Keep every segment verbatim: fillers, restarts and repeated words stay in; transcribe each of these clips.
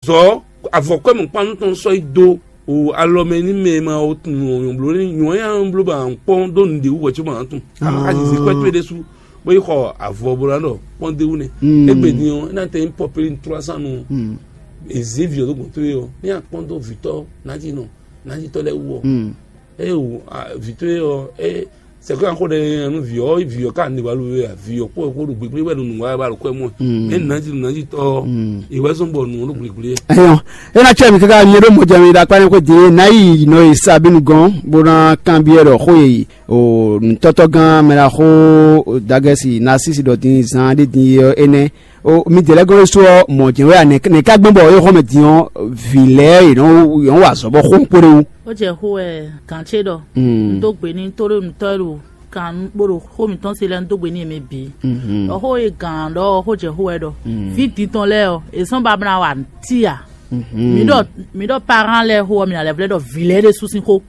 Gɔ̌ avɔkwɛ́ mɔ̌kpánú tɔn sɔ́ yi dó o alɔ mɛ ní mɛ e ma o tunwun nyɔ̌bló ní nyɔ̌ ya bló ba kpɔ́n dó nǔɖé wú hwɛ̌ cóbɔ ǎ tun. Ama ka zizi kwɛ́ towe ɖésú bó yi xɔ avɔ bó ná ɖɔ kpɔ́n dé wú nɛ́. Égbé din ɔ́, é ná tɛ nyí pɔpéli trois cent nu. Èzé vǐ ɔ́ dó gbɔn towe ɔ́, ní akpɔ́n dó vǐtɔ́ nǎjínɔ nǎjítɔ́ lɛ́ɛ wú ɔ́. Ée o vǐ towe ɔ́, é sɛkpɛ́ xó ɖɛ nú vǐ ɔ́, vǐ ɔ́ ka nǐ wá lú wɛ a? Vǐ ɔ́ kpó kpó ɖo gbégbé wɛ ɖo nǔ wa wɛ ɖo kwɛ́ mɔ. Mɛ nǎ jí nǔ nǎ jí tɔ́ ɔ́, è wɛ zɔ́n bɔ nǔ ɔ́ ɖo gblégbléɛ. Ɛyɔ, é ná cɛ mì káká nyɛ ɖó mɔjɛmɛ ɖo akpá nyɛ xwé din é ná yi nɔ e Sabínu gɔ́n bó ná kanbyɔ́ ɖɔ xó e o nǔtɔ́tɔ́gán mɛɖaxó Dagɛsi Nasísi ɖɔ din zan ɖé din é ɔ́ énɛ́. O midɛɛ lɛ́ɛ gɔ́n ɖésú ɔ́, mɔ̌ jɛ́n wɛ a? Nɛ̌ nɛ̌ ka gbɔn bɔ é xɔ́ mɛ din ɔ́, vǐ lɛ́ɛ yě nɔ yě nɔ wa azɔ̌ bɔ xó kpó ɖé wú? Ó jɛ xó wɛ gǎn ce ɖɔ un dó gbe n'i tóɖó nǔtɔ́ e ɖo kan bó ɖo xó mǐtɔn se lɛ́ɛ un dó gbe n'i yě mɛ bǐ. Ɖɔ xó e gǎn ɖɔ ɔ́, xó jɛ xó wɛ ɖɔ vǐ din tɔn lɛ́ɛ ɔ́, è zɔ́n ba ná wa nǔtí ǎ. Mi ɖɔ mi ɖɔ parán lɛ́ɛ xó ɔ́, mi ná lɛ́ vlɛ́ ɖɔ vǐ lɛ́ɛ ɖésú sín xó.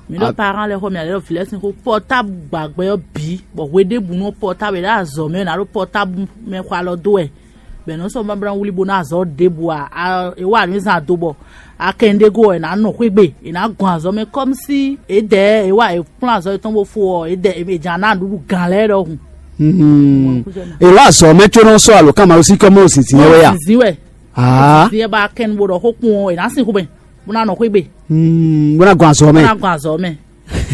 Mi ɖɔ parán lɛ́ɛ xó, mi ná lɛ́ ɖɔ vǐ lɛ́ɛ sín xó pɔtábu gbàgbɛ ɔ́ bǐ, bɔ hweɖěbǔnu ɔ́ pɔtábu è ɖo azɔ̌ mɛ è nǎ ɖo pɔtábu mɛ xɔ alɔ dó wɛ. Bɛ̌ nɔ sɔ́ babla wlí bó ná azɔ̌ ɖěbǔ ǎ, è wa nǔ zan do bɔ akɛn ɖé go wɛ è nǎ nɔ xwé gbe, è nǎ gɔn azɔ̌ mɛ kɔ́msi èdɛɛ è wa è kplɔ́n azɔ̌ yětɔn bó fo ɔ́, èdɛɛ è jǎ ná nǔɖuɖu gǎn lɛ́ɛ ɖɔhun. Èló azɔ̌ mɛ có nɔ sɔ́ alǒkanmaɖósíkɔ́ mɔ zǐnzín wɛ ya? Zǐnzín wɛ. Aa. Zǐnzín wɛ bɔ akɛn bo ɖɔ xó kpɔn ɔ́, è nǎ sin xú mɛ bó ná nɔ xwé gbe. Bó ná gɔn azɔ̌ mɛ. Bó ná gɔn azɔ̌ mɛ.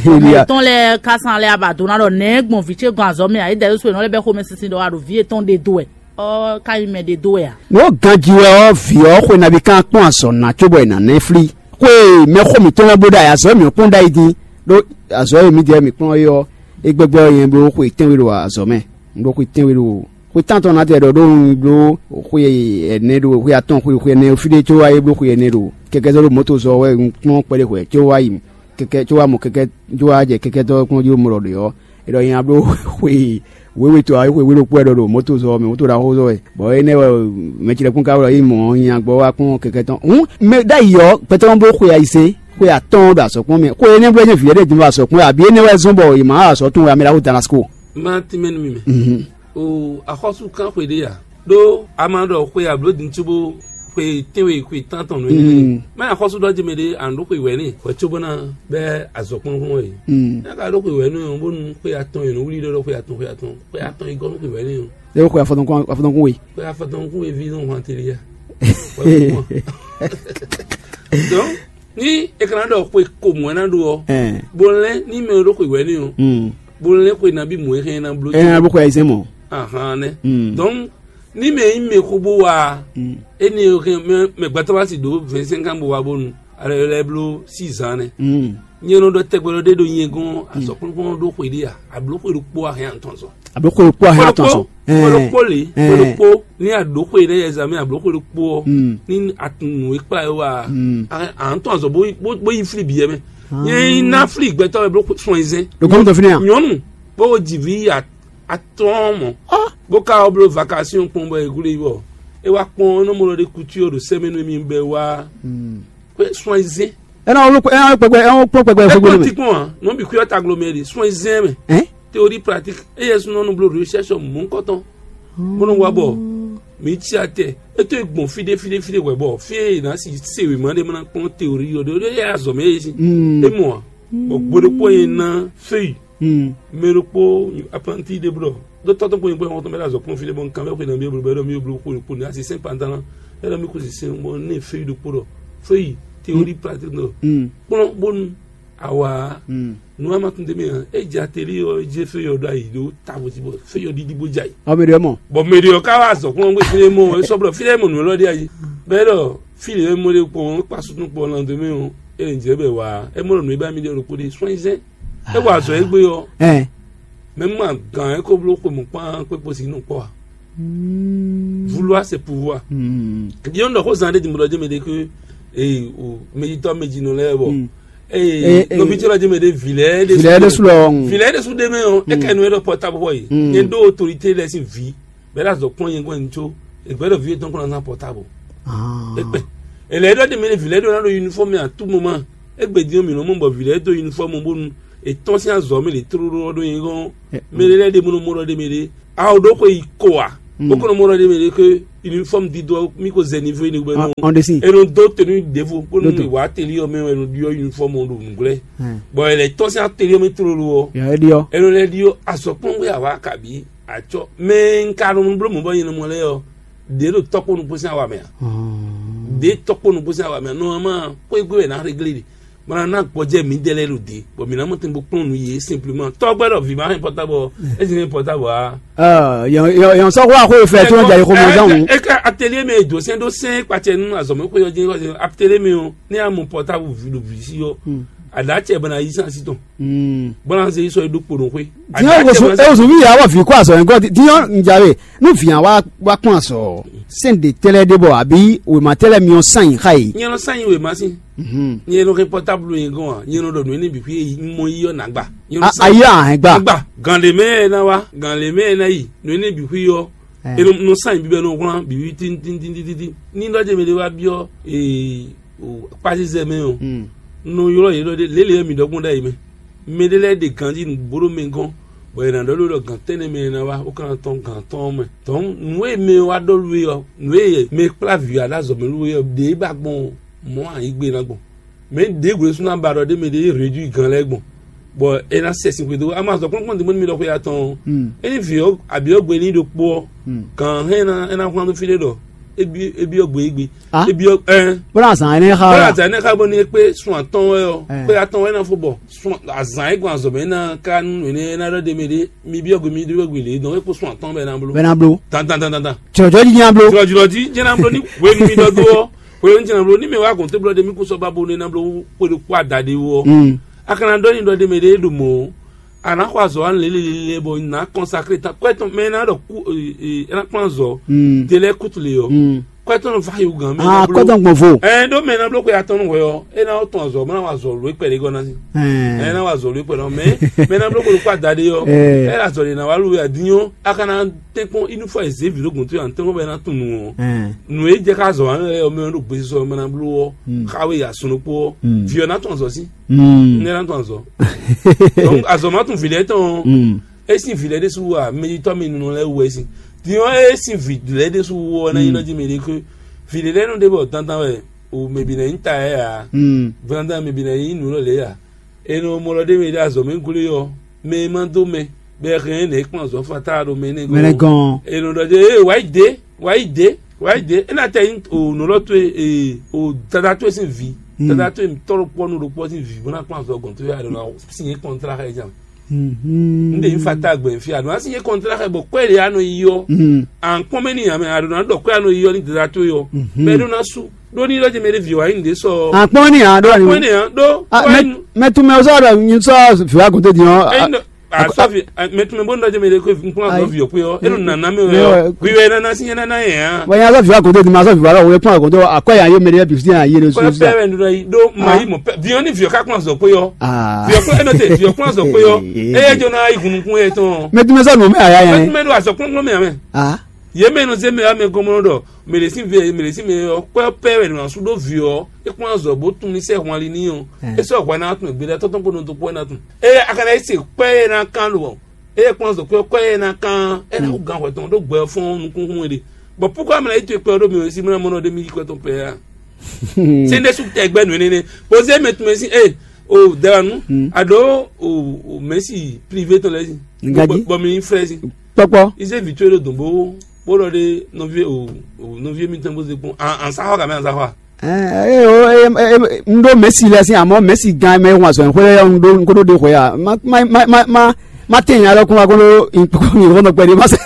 Mɛ tɔn lɛ́ɛ ka san lɛ aba do ná ɖɔ nɛ̌ gbɔn vǐ ce gɔn azɔ̌ mɛ ǎ, é dɛ ɖésú è nɔ lɛ́ bɛ́ xomɛ sinsin ɖɔ a ɖo vǐ yětɔn ɖe dó wɛ. Ɔ́ ka nyí mɛ ɖe dó wɛ a? Nǔ ganjí wɛ ɔ́, vǐ ɔ́ xwe nabí kan kpɔ́n azɔ̌ ná cóbɔ è nǎ ná ɛ flí. Xwe mɛ xó mǐtɔn lɛ́ɛ bó ɖo ayǐ, azɔ̌ mǐ kpɔ́n ɖ'ayǐ dín, ɖó azɔ̌ e mǐdɛɛ mǐ kplɔ́n é ɔ́, é gbɛgbɛ́ ɔ́ nyɛ bló xwe tɛ́nwe ɖo azɔ̌ mɛ. Un ɖó xwe tɛ́nwe ɖo xwe tántɔn ná tɛ ɖɔ ɖó un bló xwe ɛnɛ ɖo xwe atɔn xwe xwe ɛnɛ fí ɖé có wá é bló xwe ɛnɛ ɖo kɛkɛ́ zɔ́ ɖo mɔ̌to zɔ wɛ un kplɔ́n kpɛɖé hwɛ̌ có wá yi kɛkɛ́ có wá mɔ kɛkɛ́ có wá jɛ kɛkɛ́tɔ́ kplɔ́n jí ɖo mɔ ɖɔ ɖě ɔ́, é ɖɔ nya bló xwe wěwe to ǎ, xwe wé ɖokpó wɛ ɖɔ ɖo mɔ̌to zɔ mɛ, mɔ̌to ɖaxó zɔ wɛ, bɔ énɛ́ wɛ mɛ ce lɛ́ɛ kún ka wɛ ɖɔ yí mɔ̌ nya gbɔ wá kpɔ́n kɛkɛ́ tɔn. Hǔn mɛ ɖ'ayǐ ɔ́, gbɛtɔ́ nɔ bló xwe ayise, xwe atɔ́ɔ́n ɖo azɔ̌ kpɔ́n mɛ, xwe énɛ́ bló nyɛ vǐ lɛ́ɛ ɖě din ɖo azɔ̌ kpɔ́n wɛ, abǐ énɛ́ wɛ zɔ́n bɔ è mǎ wa azɔ̌ tɔn wɛ, amɛ ɖaxó Damasko. Ma tínmɛ nú mi mɛ. O axɔ́sú kán xwe ɖé a? Ɖó a ma ɖɔ xwe ablǒdin cóbó xwe tɛ́nwe xwe tántɔn nǔ énɛ́. Má axɔ́sú ɖɔ jɛ mɛ ɖé a nǔ ɖó xwe wɛ̌ n'i hwɛ cóbó ná bɛ́ azɔ̌ kplɔ́nkplɔ́n e. Ní a ka ɖó xwe wɛ̌ nú ɔ́, bónú xwe atɔn e nǔ wlí ɖɔ ɖɔ xwe atɔn xwe atɔn xwe atɔn e gɔ́ nú xwe wɛ̌ n'i ɔ́. É xwe afɔtɔn kún afɔtɔn kún we. Xwe afɔtɔn kún we ví nɔ hwan teli ya. Donc ní è ka ná ɖɔ xwe ko mɔ̌ ná ɖó ɔ́, bó lɛ́n ní mɛ e ɖó xwe wɛ̌ n'i ɔ́, bó lɛ́n xwe nabí mɔ̌ e hɛn ná bló. Ɛ ná bó xwe ayizɛ́n mɔ. Ahan nɛ. Donc ní mɛ nyí mɛ xó bó wa ɔ́, énɛ́ e hɛn mɛ mɛ gbɛtɔ́ wá si ɖǒ vingt-cinq ans bó wa bónu alɔ lɛ́ bló sí zan nɛ. Nyɛ nɔ ɖɔ tɛgbɛ ɖɔ ɖé ɖo nyɛ gɔ́n azɔ̌kplɔ́nkplɔ́n ɖó xwe ɖé a? Abló xwe ɖokpó a hɛn atɔn zɔn. Abló xwe ɖokpó a hɛn atɔn zɔn. Xwe ɖokpó lě, xwe ɖokpó ní aɖǒ xwe ɖé yɛ zan mɛ abló xwe ɖokpó ɔ́ ní atun nǔ e kplá yó wa a ntɔn azɔn bó bó yi fli biyɛ mɛ. Nyɛ ná fli gbɛtɔ́ wɛ bló sɔn yi zɛn. Ɖo gɔ́mɛ tɔn fínɛ́ a? Nyɔ̌nu bó ji vǐ atɔ́ɔ́n mɔ̌, bó ka wá bló vakasíɔn kpɔ́n bɔ è glé yi bɔ é wá kpɔ́n nɔ́ mɔ ɖɔ ɖé kutu ɔ́ ɖo sɛmɛnu e mi bɛ wá xwe sɔn yi zɛn. Ɛ na wolo ɛ na kpɛkpɛ ɛ na kpɔn kpɛkpɛ ɛ fúgbó kpɔn mɛ. Ti kpɔn a nɔ bi kuyɔ taglo mɛ de sɔn yi zɛn mɛ. Ɛ? Théorie pratique eye sunɔ nu blo recherche mɔ̌kɔtɔn bó nɔ wá bɔ mi tsi atɛ. Eto e gbɔn fide fide fide wɛ bɔ fi e na si se wema ɖe mana kpɔn théorie yɔ ɖe ɖe ya zɔ mɛ ye si. E mɔ a bɔ gboɖokpɔ ye na feuille. Mɛ ɖokpó apprenti ɖé blɔ dó tɔ́tɔ́ kpó nyigba wɔn tɔn bɛ ɖo azɔ kpɔn fi ɖé bɔ nkan bɛ xwe na mi blo bɛ ɖɔ mi blo xwe kpo ne asi sɛn pantan la bɛ ɖɔ mi xwe si sɛn bɔ ne feuille ɖokpó ɖɔ feuille théorie pratique ɖɔ kplɔn bonu awa nu ama tun demi hã e dze ateli yɔ e dze feuille yɔ ɖo ayi ɖo tabu dzi bɔ feuille yɔ ɖiɖi bo dze ayi. Ɔ mi ɖe mɔ. Bɔn mɛ ɖe yɔ ka wa azɔ kplɔn gbé fi ɖé mɔ e sɔ blɔ fi ɖé mɔ nu lɔ ɖi ayi bɛ ɖɔ fi ɖé mɔ ɖe kpɔn kpa sutun kpɔn lan demi o e dze bɛ wa e mɔ nu e ba mi ɖe ɖokpo ɖe sɔn yi zɛn. E wa azɔ egbe yɔ. Ɛn. Mɛ mu agàn ɛ kó bló xwe mɔ̌kpán kpékpó si nɔ kpɔ́ a? Vouloir c'est pouvoir. Yɔn ɖɔ xó zan ɖé dimlɔ jɛ mɛ ɖé ké ee o mɛjitɔ mɛjinɔ lɛ bɔ ee nɔbitɔ lɛ jɛ mɛ ɖé vilɛ ɖé vilɛ ɖé su lɔ vilɛ ɖé su ɖé mɛ o e kɛ nu e ɖɔ portable xɔ yi nyɛ ɖó autorité lɛ si vi bɛ la zɔ kpɔn yɛ gbɔn nitso egbɛ ɖɔ vi etɔn kɔn na portable ekpɛ ele ɖɔ ɖe mɛ ɖé vilɛ ɖó na ɖo uniforme à tout moment egbe di mi nɔ mɔ bɔ vilɛ do uniforme bonu etɔn si azɔ mi le tró ɖó ɖó yɛ gɔn mɛ ɖé lɛ ɖe mɔnɔ mɔnɔ ɖe mɛ ɖé awo ɖó xɔ yi ko a Ó kɔn nɔ mɔ ɖɔ ɖ'é mɛ ɖé ke uniforme dídó ɔ́, mí ko zɛ niveau énɛ́ gbe nɔ. Ɔn ɖe sí. E nɔ dó tenue ɖěvo bónú Dó te. È wǎ atelier ɔ́ mɛ wɛ è nɔ ɖyɔ́ uniforme ɔ́ ɖo nǔglɛ́. Bɔ è lɛ́ tɔ́n sín atelier ɔ́ mɛ tlóló ɔ́, Yɛ é ɖyɔ́. È nɔ lɛ́ ɖyɔ́ azɔ̌kplɔ́ngbé awǎ kabǐ acɔ́. Mɛ un ka nɔ bló mɔ̌ bɔ nyɛ nɔ mɔ lɛ́ɛ ɔ́, ɖě ɖo tɔ́kpó nukún sín awa mɛ ǎ. Ɖě tɔ́kpó nukún sín awa mɛ ǎ. Nɔ ma xwé gbe wɛ ná réglé ɖe. Bɔ ná ná gbɔjɛ mǐdɛɛ lɛ́ɛ ɖo dě, bɔ mǐ ná mɔ tɛn bó kplɔ́n nǔ yě simplement. Tɔ́gbɛ́ ɖɔ vǐ ma hɛn pɔtábɔ, é sin hɛn pɔtábɔ ǎ. Yɔn sɔ́ xó fɛ tó ń jà yìí xó mɔ zán wǔ. É ká atelier mɛ e dǒ sɛn ɖó sɛn kpacɛ nú azɔ̌mɛ xwé ɔ́ jɛ́n xwé atelier mɛ ɔ́, ní a mɔ pɔtábl vǐ ɖo vǐ sí ɔ́, a ɖǎ acɛ bɔ ná yí sán sí tɔn. Bɔ ná zé yi sɔ́ yi ɖó kpo ɖo xwé. Diɲɔ wosu ewosu mi yà wɔ vǐ kó azɔ yẹn gɔ́ diɲɔ njawe nú vǐ wa wa kpɔn azɔ sɛn de tɛlɛ de bɔ àbí wèmà tɛlɛ mi ɔn sàn yìí xa yìí. Nyɛ nɔ sàn yìí wèmà sí. Nyɛ nɔ xɛ pɔtáblu yẹn gɔn wa nyɛ nɔ ɖɔ nǔ énɛ́ bǐ xwí yé mɔ yí ɔ́ nǎ gba. Nyɛ nɔ sàn Ayi ahɛn gba. Gba gǎn lě mɛ ɛ ná wá gǎn lě mɛ ɛ ná yi nǔ énɛ́ bǐ xwí ɔ́. Ɛ nɔ sàn yìí bíbɛ nɔ wlán bǐ wí tíntíntíntíntí ní lɔ́ jɛ mɛ ɖé wá byɔ́ ee kpazizɛ mɛ ɔ́. Nɔ ylɔ́ yě ɖɔ ɖé lě lě e mǐ ɖɔ gbɔn ɖ'ayǐ mɛ. Mɛɖé lɛ́ɛ ɖe ganjí nǔgbó ɖó mɛ gɔ́n, bɔ è nǎ ɖɔ ló ɖɔ gǎn tɛ́nnɛ mɛ e ná wá bó ka ná tɔ́n gǎn tɔn ɔ́ mɛ. Dɔ̌n nǔ e mɛ e wá ɖɔ lú é ɔ́, nǔ e mɛ e kplá vǐ wá ɖo azɔ̌ mɛ lú é ɔ́, ɖě é ba gbɔn mɔ̌ ayǐgbe ná gbɔn. Mɛ ɖěbǔ ɖésú ná ba ɖɔ ɖ'é mɛ ɖě rédui gǎn lɛ́ɛ gbɔn, bɔ é ná sɛ sin xwedó. Ama azɔ̌ kplɔ́nkplɔ́n din bónú mi ɖɔ xwe atɔn ɔ́, ényí vǐ ɔ́ abǐ ɔ́ gbe ní ɖokpó ɔ́, gǎn hɛn é ná é ná hwlán dó fí ɖé ɖɔ é byɔ́ gbe é gbe. Ah. É byɔ́ ɛn. Bó ná zǎn énɛ́ xa Bó wɛ. Ná zǎn énɛ́ xa bɔ ní é kpé sun atɔn wɛ ɔ́, Ɛn. Pé atɔn wɛ ná fó bɔ sun azǎn é gbɔn azɔ̌ mɛ ná ká nú énɛ́ é ná ɖɔ ɖ'é mɛ ɖé mi byɔ́ gbe mi ɖó gbe lě dɔn é kpó sun atɔn bɛ ná bló. Bɛ ná bló. Tantantantan. Jɔjɔ jí nya bló. Jɔjɔ jí jɛ́n ná bló ní hwenu mi ɖɔ dó ɔ́, hwenu jɛ́n ná bló ní mɛ wá gɔn té blɔ́ ɖé mi kó sɔ́ ba bo nɛ ná bló xwe ɖokpó adaɖé wú ɔ́. Mm. A ka ná ɖɔ ní ɖɔ ɖ'é mɛ ɖé ɖo mɔ̌. A nǎ xɔ azɔ̌ wa lělelelele bɔ nǎ kɔnsakle tán kɔ́ tɔn mɛ ná ɖɔ kú ɛ ná kplɔ́n azɔ̌. Te lɛ́ɛ kútu le ɔ́, kɔ́ tɔn nɔ va yi wú gǎn mɛ Ah, ná bló. Kɔ́ tɔn gbɔn vo. Ɛ ɖó mɛ ná bló xwe atɔn nú hwɛ ɔ́, é ná tɔn azɔ̌ mɛ ná wa azɔ̌ ló kpɛɖé gɔ́ ná sí. Ɛ ná wa azɔ̌ ló kpɛɖé ɔ́ mɛ mɛ ná bló xwe ɖokpó adaɖé ɔ́, Ɛ. Ɛ azɔ̌ ɖé ná wa lú wɛ adínyɔ́ a ka ná tɛ́nkpɔ́n inúfɔ e zě vǐ ɖó gǔn tó yě à ń tɛ́nkpɔ́n bɔ é ná tunwun ɔ́. Ɛ. Nǔ e jɛ ká azɔ̌ wa lɛ́ɛ ɔ́ mɛ ɔ́ ɖo gbesisɔ mɛ ná bló ɔ́, xa wé yi asɔn ɖokpó ɔ́, vǐ ɔ́ ná tɔn azɔ̌ sí. Mm. Nɛ ná tɔn azɔ. Donc azɔ ma tún vǐ lɛ́ɛ tɔn. Mm. Esi vǐ lɛ́ɛ ɖésú wa mɛyitɔ́ mi nunu lɛ́ɛ wú ɛ sin. Diɔ esi vǐ lɛ́ɛ ɖésú wú ɔ ná yi nɔ jí mi ɖe kú. Vǐ lɛ́ɛ nɔ ɖe bɔ dandan wɛ o mɛ bi nɛ nyi ta yɛ ya. Mm. Dandan mɛ bi nɛ nyi nǔ lɔ lɛ ya. E nɔ mɔ lɔ ɖe mi ɖe azɔ mi gúlé ɔ. Mɛ ma dó mɛ. Bɛ hɛn nɛ kpɔn azɔ fata ɖo mɛ nɛ Mɛ nɛ gɔn. E nɔ ɖɔ de e wa yi de. Wǎ yi dě, wǎ yi dě, é ná tɛ nyí o nǔ lɔ towe, ee, o dada towe sín vǐ, dada towe tɔ́ ɖokpɔ́ nú ɖokpɔ́ sín vǐ bó ná kplɔ́n azɔgɔn towe a ɖǒ ná sin yě kɔntrá xɛ jan. Un ɖe nyi fata gbɛn fí a ɖǒ ná sin yě kɔntrá xɛ bɔ kɔ́ e ɖě a nɔ yi ɔ́, à ń kpɔ́n mɛ n'i ǎ mɛ a ɖǒ ná ɖɔ kɔ́ e a nɔ yi ɔ́ ní dada towe ɔ́, bɔ é ɖó ná sú ɖó ní lɔ́ jɛ mɛ ɖé vǐ wǎ yi nǔɖé sɔ ɔ́. À ń kpɔ́n ní ǎ ɖó à ní. Kpɔ́n ní ǎ ɖó Ah, wá mɛ, yi nú. Mɛ tún mɛ ɔ́ sɔ́ ɖɔ nyi sɔ́ vǐ wá gúnté din ɔ́. Ɛ, nɔ- Asɔvi mɛtúmɛ bó ń dɔjɛ mɛ ɖe kó nkplɔn asɔvi ɔkpɛ ɔ enu nana mɛ wɛ ɔ hwiwɛ nana si yẹn nana yẹn hã. Bɔ yẹn azɔ viwa kodo di ma azɔ viwa lɔ wòye kpɔn akodo akɔ yà yé mɛ ɖe bi si yà yé ɖe kó su bɛɛ wɛ nínú yi ɖó ma yi mɔ pɛ viɔ ni viɔ ká kplɔn azɔ kpé yɔ viɔ kplɔn ɛnɔ tɛ viɔ kplɔn azɔ kpé yɔ eye jɔ na yi hunukun yɛ tɔn mɛ tún mɛ sɔ nù mɛ aya yẹn mɛtúmɛ ɖo azɔ kplɔn kplɔn mɛ amɛ ah yé mɛ nɔ zé mɛ amɛ gɔmɔ ɖɔ mɛɖesin vɛ mɛɖesin mɛ ɔ kpɛ pɛ wɛ nɔ asu ɖó viɔ é kplɔn azɔ bó tún ní sɛ hwan li ní ɔ é sɔ hwan ná tún gbé ɖe tɔtɔ kpó nɔ tó kpɔ ná tún eye akana yi se kpɛ yɛ ná kan lò eye kpɔn zɔ kpɛ kpɛ yɛ ná kan ɛ ná kó gan hwɛ tɔn ɖó gbɛ fɔn nukúnkún wɛ ɖe bɔn púkɔ amɛ na yi to kpɛ ɖó mi wɛ si mɛ na mɔ nɔ ɖe mi yi kpɛ tɔn pɛ ya se ɖe su tɛ gbɛ nù nene bɔn se mɛ tún mɛ si e o dara nu aɖo o mɛ si privé tɔn lɛ si Ngadji. Bɔn mi frɛ si Kpɔkpɔ. Ise vi to ɖo dɔn bo bo lɔ ɖe nɔvi o nɔvi mi tɔn bo se kpɔn an sa xɔ gamɛ an sa xɔ a. Ee, n ɖó Messi lɛ sín, amɔ̌ Messi gán mɛ ŋun azɔ̌ xwé lɛ́ɛ, n ɖó n ko ɖó ɖe xwé a, má má má má má tɛ nya lɔ kún wa kó ɖó nkpɔkpɔ mi xɔnɔ kpɛɖé má sɛ.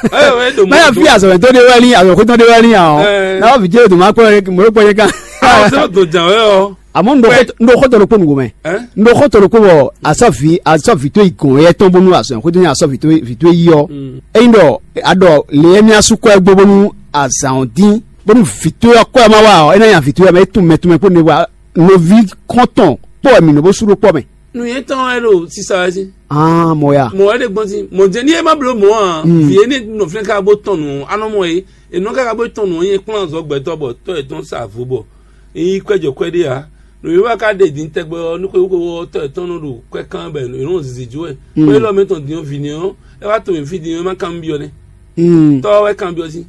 Má yà fi azɔ̌ tó ɖe wɛ ní, azɔ̌ xwé tɔn ɖe wɛ ní a ɔ. N'a wà fi jẹ́ ètò má kpɔ yẹ mɔ̀ló kpɔ yẹ kan. Àwọn sọ tó jà wẹ́ ọ. Àmọ́ n ɖó xɔtɔ ló kpó nùgbò mɛ. N ɖó xɔtɔ ló kpó bɔ asɔ vi asɔ vi tó yi gɔn yɛ tɔn bónú azɔ̌ xwé tó ní asɔ vi tó yi ɔ. Eyin ɖɔ aɖɔ lè yɛ mi asukɔ ɛ gbó bónú azǎn ɔ́ dín. Bónú vǐtó ɔ́ kɔ ɛ má wa ɔ́, é ná nya vǐtó ɔ́ mɛ é tunwun mɛ tunwun mɛ kpó ne wa nɔví kɔntɔn kpó wɛ mǐ nɔ bó sú ɖó kpɔ́ mɛ. Nǔnywɛ́ tɔn wɛ ɖo sisa wɛ sí. Ah, mɔ ya. Mɔ wɛ ɖe gbɔn sí. Mɔ jɛ ní e má bló mɔ a. Vǐ e ní nɔ flɛ́n ká bó tɔn nǔ ɔ́, anɔ mɔ e. Enɔ káká bó tɔn nǔ ɔ́, nyɛ kplɔ́n azɔ̌ gbɛtɔ́ bɔ tɔ́ yɛtɔn sa vo bɔ. Ényí kwɛ́jɔ kwɛ́ ɖé ǎ. Nǔwiwa ka ɖe din tɛgbɛ ɔ́, nú xwewú xwewú ɔ́ tɔ́ yɛtɔn nɔ ɖo kwɛ́ kán bɔ è nɔ zizi jó wɛ. Xwé élɔ́ mɛ tɔn din ɔ́, vǐ nɛ́ ɔ́, é wá to mǐ fí din ɔ́, é má kan nú byɔ́ nɛ́. Tɔ́ wɛ kanbyɔ́ sín.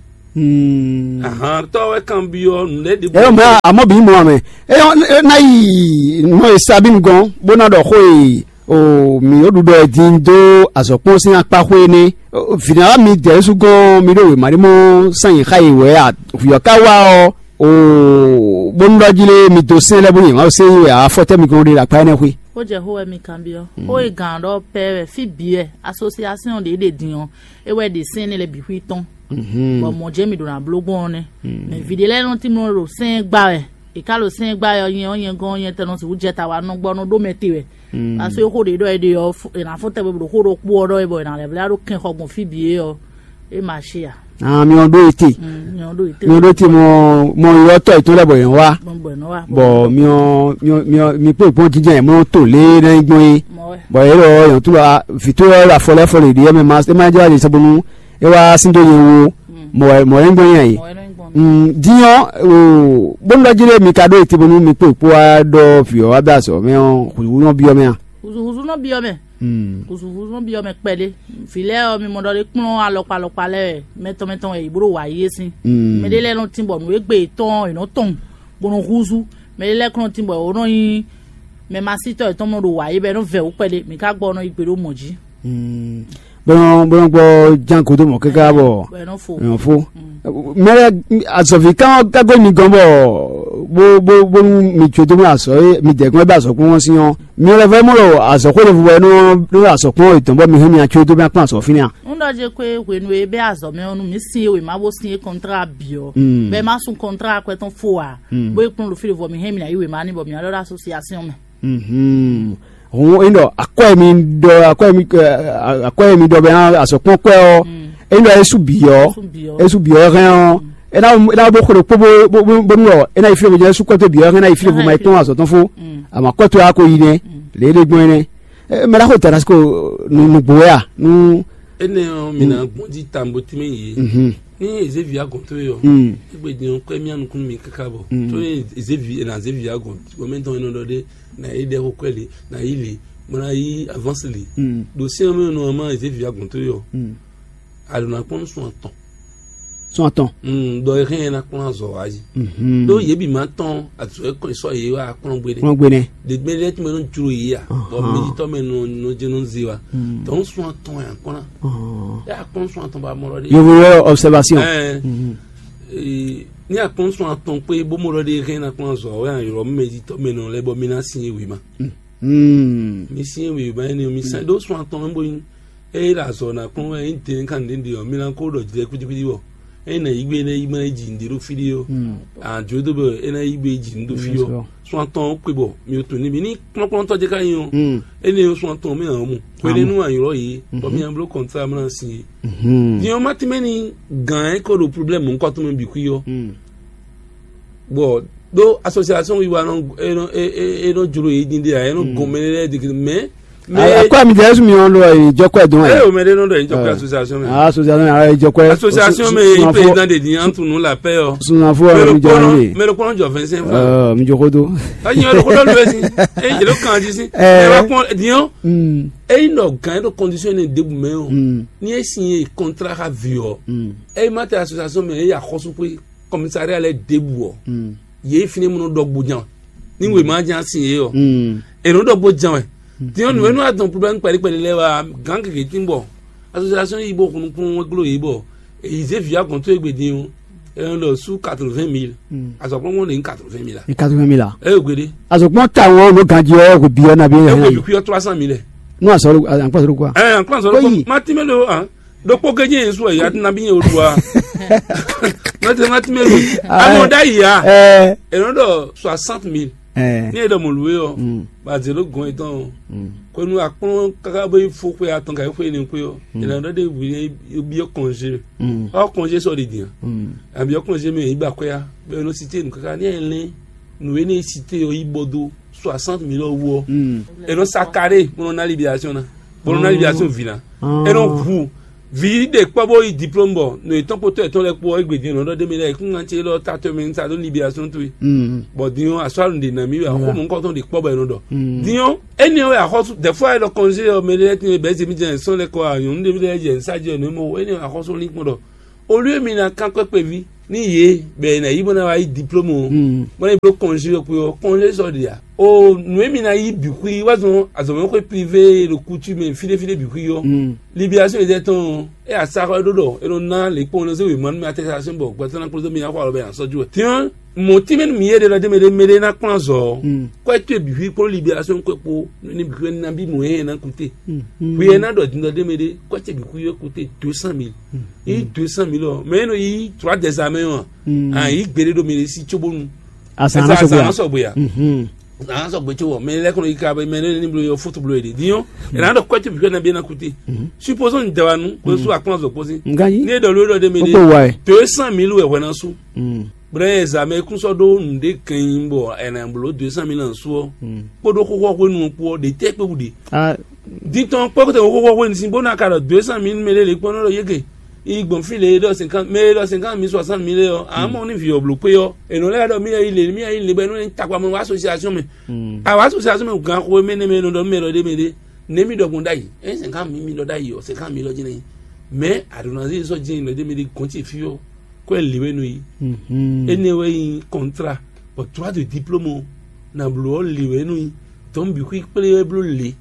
Ahan, tɔ́ wɛ kanbyɔ́ nǔ lɛ́ɛ ɖěbǔ. Ɛ mɛ, àmọ́ bí mɔ mɛ. Ɛ ná yi nɔ e sa bí gɔn bó ná ɖɔ xó e o mǐ ɖo ɖuɖɔ ɛ din dó azɔ̌kpɔ́n sín akpá xwé nɛ́. Vǐnɛwa mi dɛ̌ sú gɔn mi ɖo wěma ɖé mɔ sán yě xa yi wɛ a? Vǐ ɔ́ ka wá ɔ́, o bónú ɖɔ jí lé mi dó sɛn lɛ́ɛ bó yě ma sɛn yi wɛ afɔtɛ́ mi gɔn ɖe ɖo akpá énɛ́ xwé. Ó jɛ xó wɛ mi kanbyɔ́. Xó e gǎn ɖɔ pɛ wɛ fí bǐ wɛ asosiasɔn ɖě ɖe din ɔ́, é wɛ ɖe sɛn énɛ́ lɛ́ɛ bǐ xwí tɔn. Bɔ mɔ̌ jɛ́n mǐ ɖo ná bló gbɔn ɔ́ nɛ́. Mɛ vǐ ɖé lɛ́ɛ nɔ tín nɔ ɖo sɛn gbá wɛ. È ká ɖo sɛn gbá wɛ ɔ́, nyɛ ɔ́ nyɛ gɔ́n nyɛ tɛn nɔ sixú jɛ ta wá nɔ gbɔ nɔ ɖó mɛ te wɛ. Aso e xó ɖě ɖɔ é ɖe ɔ́, è nǎ fɔ́n tɛgbɛ bɔ ɖo xó ɖokpó ɔ́ ɖɔ é bɔ è nǎ lɛ́ vlɛ́ ɖó kɛn xɔ gbɔn fí bǐ é ɔ́, é ma ṣe ǎ. Ah, mi ɔ́ ɖó ete. Mm, nyɛ ɔ́ ɖó ete. Mi ɔ́ ɖó ete mɔ mɔ ylɔ́tɔ́ yětɔn lɛ́ɛ bɔ yě wá. Bɔ bɔ è nɔ wá. Bɔ mi ɔ́ mi ɔ́ mi ɔ́ mi kpé gbɔn jínjɛ́n yě mɔ tó lě ná nyí gbɔn é. Mɔ wɛ. Bɔ yě ɖɔ yɔn tó la vǐ tó lɔ afɔ lɛ́ fɔ lě ɖi yɛ mɛ ma é ma jɛ wá ɖe sɔbonu é wá sín dó nyɛ wo. Mɔ wɛ mɔ wɛ nyí gbɔn yɛ yě. Mɔ wɛ nɔ nyí gbɔn. Mm, din ɔ́ o bónú ɖɔ jí lé mi ka ɖó ete bónú mi kpé kpó wá ɖɔ vǐ ɔ́ wá bɛ azɔ̌ mɛ ɔ́ hǔzúhúzú nɔ byɔ́ mɛ a? Húzúhúzú nɔ byɔ́ mɛ. Húzúhúzú nɔ byɔ́ mɛ kpɛɖé. Vǐ lɛ́ɛ ɔ́, mi mɔ ɖɔ ɖé kplɔ́n alɔkpa alɔkpa lɛ́ɛ mɛtɔn mɛtɔn wɛ yě bó ɖo wǎ yí é sín. Mɛ ɖé lɛ́ɛ nɔ tín bɔ nǔ e gbe yětɔn ɔ́, yě nɔ tɔn bó nɔ húzú. Mɛ ɖé lɛ́ɛ kplɔ́n tín bɔ yě nɔ nyí mɛ masítɔ́ yětɔn nɔ ɖo wǎ yí bɔ é nɔ vɛ wǔ kpɛɖé. Mǐ ka gbɔ nɔ yi gbe ɖó mɔ̌ jí. Bó nɔ bó nɔ gbɔ ján gǒdo mɔ̌ káká bɔ bɔ è nɔ fo. È nɔ fó. Mɛ lɛ azɔ̌ví kan ɔ́ kágó mi gɔn bɔ bó bó bónú mi jó dó mɛ azɔ̌ e mi dɛ̌ gbɔn é bɛ azɔ̌ kplɔ́n sín ɔ́, mi lɛ́ vɛ́ mɔ ɖo azɔ̌ xwé ɖěvo wɛ nɔ nɔ azɔ̌ kplɔ́n yětɔn bɔ mi hɛn mi ná jó dó mɛ kplɔ́n azɔ̌ fínɛ́ a? Ń ɖɔ jɛ kwe hwenu e bɛ́ azɔ̌ mɛ ɔ́ nu mǐ sin e wěma bó sin é kɔntrá bǐ ɔ́, bɔ é má sun kɔntrá akwɛ́ tɔn fó ǎ, bó é kplɔ́n ɖo fí ɖěvo ɔ́, mǐ hɛn mǐ ná yí wěma n'i bɔ mǐ ná ɖɔ ɖó asosiasɔn mɛ. Hǔn é ɖɔ akwɛ́ mi ɖɔ akwɛ́ mi akwɛ́ mi ɖɔ bɛ azɔ̌ kpɔ́n kwɛ́ ɔ́, é ɖɔ é sú bǐ ɔ́, é sú bǐ ɔ́ hɛn ɔ́, é ná é ná bó xo ɖokpó bó bó bó bónú ɔ́, é ná yi fí ɖěvo jɛ́n é sú kɔ́ tó bǐ ɔ́ hɛn é ná yi fí ɖěvo ma yi kpɔ́n azɔ̌ tɔn fó, àmọ́ kɔ́ tó wá ko yi nɛ́, lě é ɖe gbɔn é nɛ́. Mɛ ɖaxó Damasiko nugbo wɛ a? Nú Énɛ́ ɔ́, mi ná gbɔn jí tambo tínmɛ yě. Ní Ezévi agɔn tó yɔ, égbé din ɔ́, kwɛ́ mì anukún mi káká bɔ. Tó Ezévi ná Ezévi agɔn, bɔ mɛ tɔn nɔ ɖɔ ɖé, ná yi ɖɛ xó kwɛ́ lě, ná yi lě, bɔ ná yi avánsi lě. Ɖo sɛ́n ɔ́ mɛ nɔ ma Ezévi agɔn tó yɔ. Àlò ná kpɔ́n nú sun atɔn. Sun atɔn. Ɖɔ e hɛn ɛ ná kplɔ́n azɔ̌ wá yi. Ɖó yě bǐ ma tɔn azɔ̌ e kɔn sɔ́ yě wá kplɔ́n gbe nɛ́. Kplɔ́n gbe nɛ́. Ɖěgbé lɛ́ɛ tún mɛ nɔ jló yě a? Bɔ mɛjitɔ́ mɛ nɔ nɔ jɛ nɔ ze wa. Tɔn sun atɔn yà kplɔ́n. Yà kplɔ́n sun atɔn ba mɔ lɔ ɖe. Yovo yɔ observation. Ɛɛ, ní akpɔ́n sun atɔn kpé bó mɔ lɔ ɖe hɛn ná kplɔ́n azɔ̌ wɛ ylɔ́ mɛjitɔ́ mɛ nɔ lɛ́ bɔ mì ná sin é wě ma. Mi sin é wě ma énɛ́ mi sɛn ɖó sun atɔn mɛ bó nyí. Eye ɖo azɔ̌ ná kplɔ́n wɛ nyí din kan ɖěɖě ɔ́, mi ná kó ɖɔ jlɛ kwítíkwítí wɔ. Eye ná yí gbe énɛ́ yí ma yi jǐ nǔɖé ɖo fí ɖé ɔ́, àjò dó bɔ é ná yí gbe jǐ nǔ ɖo fí ɔ́. Sun atɔn ɔ́ kpe bɔ mi ò tunwun n'i mi ní kplɔ́nkplɔ́ntɔ́ jɛ ká nyi ɔ́. Énɛ́ ɔ́ sun atɔn mɛ ǎ mu. Hwenɛ́nu a ylɔ́ yě, bɔ mi ná bló kɔntrá mɛ ná sin é. Din ɔ́ má tínmɛ ní gǎn é ko ɖo problème nukɔn tɔn mɛ bǐ xwí ɔ́. Bɔ ɖó association wiwa nɔ e nɔ e e e nɔ jlo yi din de a e nɔ gɔn mɛ lɛ digi mɛ mɛ akɔ mi jɛ esu mi ɔn lɔ yi jɔkɔ dɔn ɛ. Eye o mɛ de nɔ dɔ yi jɔkɔ association mɛ. Association ara yi jɔkɔ. Association mɛ yi président de di an tunu la paix ɔ. Sunafo ɔ mi jɔ ne. Mɛ lɔ kɔnɔ jɔ vingt cinq francs. Mi jɔ ko do. Ayi ɔ lɔkɔ dɔ lu esi. Eye jɛ lɔ kan di si. Ɛ wa kɔn diɲɔ. Eyi nɔ gan yi ɖo condition ne debu mɛ o. Ni e signé contrat ka vi ɔ. Eyi ma tɛ association mɛ eyi axɔsu pe commissariat lɛ debu ɔ. Yě fínɛ́ mɔ nɔ ɖɔ gbo jan ní wěma jan sin yě ɔ. È nɔ ɖɔ gbo jan wɛ. Tiɲɔ nǔ e nɔ adɔn problème kpɛɖé kpɛɖé lɛ́ɛ wá gán gěgé tín bɔ association yí bó hun nukún wɛn glo yě bɔ èyí zé vǐ agɔn tó égbé dín o. È nɔ ɖɔ sú quatre-vingt mille. Azɔkplɔ́ngbɔn lè ní quatre-vingt mille a. Ní quatre-vingt mille a. Ɛ yóò gbéɖé. Azɔkplɔ́n ta wọn nɔ ganji ɔ kò bi ɔ na bi ɛ. Ɛ kò bi kú yɔ trois cent mille. Nú azɔ ló azɔ ló kó a. Ɛ ankpɔn azɔ ló kó. Má tí mɛ ló hàn. Ɖokpó gédze yẹn su ɛ ya tún nabí yẹn o ɖu wa. Mɛtɛ má tún mɛ lu. Amɔ ɖa yi ya. Ɛ Ɛ nɔ ɖɔ soixante mille. Ɛ Ní e ɖɔ mɔ lu yɔ. Ba zelo gɔn etɔn o. Ko nu akplɔn kaka bɛ fo xwe atɔn ka xwe ne xwe ɔ. Ɛ nɔ ɖɔ de wi yɛ biɔ kɔnze. Ɔ kɔnze sɔ de diyan. Abiɔ kɔnze mɛ yi ba xwe ya. Bɛ nɔ site nu kaka ni ɛ lɛ. Nu e ne site yɔ yi bɔ do soixante mille ɔ wɔ. Ɛ nɔ sa kare bɔnɔ na libération na. Bɔnɔ na libération vina. Ɛ nɔ ʋu. Vǐ ɖě kpɔ́ bó yí diplôme bɔ nɔ yětɔn kpótɔ́ yětɔn lɛ́ɛ kpó ɔ́, égbé din nɔ ɖɔ ɖ'é mɛ lɛ́ɛ, yě kún ŋa ce élɔ́ tatɔ́ mɛ ní sa ɖó libération towe. Bɔ din ɔ́, asɔ́ alun ɖě ná mì wɛ axɔ́ mɔ̌hunkɔtɔn ɖě kpɔ́ bɔ è nɔ ɖɔ. Din ɔ́, énɛ́ wɛ axɔ́sú dɛ̌fó ayé ɖɔ kɔnzé ɔ́, mɛ ɖé lɛ́ɛ tín e bɛ̌ zěmí jɛ sɔ́ lɛ́ɛ kɔ anyɔ̌nu ɖé lɛ́ɛ jɛ nǔ sa jɛ nǔ e mɔ énɛ́ wɛ axɔ́sú lín kpɔ́n ɖɔ. Olú e mi ná kán kpɛ́ kpɛví nú yě bɔ è nǎ yí bó ná wá yí diplôme ɔ́, bó ná yi bló kɔnzé ɔ́ kpé ɔ́, kɔnzé sɔ́ ɖe ǎ. O nǔ e mi ná yí bǐ xwí wá zɔn azɔ̌mɛxwé privé ɖo kútu mɛ fí ɖé fí ɖé bǐ xwí ɔ́, libération yětɛn tɔn ɔ́, é asaxɔ e ɖó ɖɔ é nɔ ná lě kpɔ́n nɔ zé wěma nú mɛ atɛsasɔn bɔ gbɛtɔ́ ná kplɔ́n dó mi ná xɔ alɔ bɛ ná sɔ́ jú wɛ. Din ɔ́, mɔ̌ tínmɛ nú mi yé ɖe lɔ dé mɛ ɖé mɛ ɖé ná kplɔ́n azɔ̌ ɔ́, kɔ́ towe bǐ xwí kplɔ́n libération kpé kpó ní bǐ xwí ná bí mɔ̌ yɛ ná kúté. Hwi e ná ɖɔ din lɔ dé mɛ ɖé, kɔ́ ce bǐ xwí yɔ kúté deux cent mille. Yí deux cent mille ɔ́, mɛ e nɔ yí trois des armées ɔ́, a yí gbeɖé ɖo mɛ ɖé sí cóbónu. Azǎn ná sɔgbe a? Azǎn ná sɔgbe a? Azǎn ná sɔgbe có wɔ mɛ lɛ́ kɔnɔ yi ka mɛ ne ní blo yɔ fóto blo yɛ ɖe din ɔ́, ɛnɛ ná ɖɔ kɔ́ ce bǐ xwí ná bí ná kúté. Supposons ni dɛ wa nu kó sú akplɔ́n zɔ kpó sí. Nganyi. Ní e ɖɔ ló ɖɔ ɖé mɛ Kókó wa ɖé ɛ. Deux cent mille wɛ hwɛ ná sú. Brɛ ɛ zǎmɛ kún sɔ́ ɖó nǔɖé kɛn bɔ ɛnɛ bló deux cent mille ná sú ɔ́, kpódó xóxó hwenu ɔ́ kpó ɔ́, ɖě tɛ́ kpé wú ɖe. Dintɔn kpɔ́kɔ́tɔ́ xóxó hwenu sín bó ná ka ɖɔ deux cent mille mɛ lé lě kpɔ́n nɔ ɖɔ yége. Yi gbɔn fí lě e ɖɔ cinquante mɛ e ɖɔ cinquante mille soixante mille ɔ́, a mɔ ní vǐ ɔ́ bló kpé ɔ́, è nɔ lɛ́ ɖɔ mí yi lě mí yi lě bɔ é nɔ nyí takpamɔ wá association mɛ. A wá association mɛ gan xo mɛ nɛ mɛ nɔ ɖɔ mɛ lɔ ɖé mɛ ɖé. Nɛ mí ɖɔ gbɔn ɖ'ayǐ, é cinquante mille mí ɖɔ ɖ'ayǐ ɔ́, cinquante mille ɔ́ jí ná nyí. Mɛ a ɖo ná zé sɔ́ jɛ́n lɔ ɖé mɛ ɖé gɔn ce fí ɔ́, kɔ́ ɛ lě wɛ nɔ yi. Énɛ́ wɛ nyí kɔntrá, bɔ droit de diplôme ɔ́, na bló ɔ́ lě wɛ nɔ yi. Tɔ̌ bǐ xwí kplé wɛ bló lě.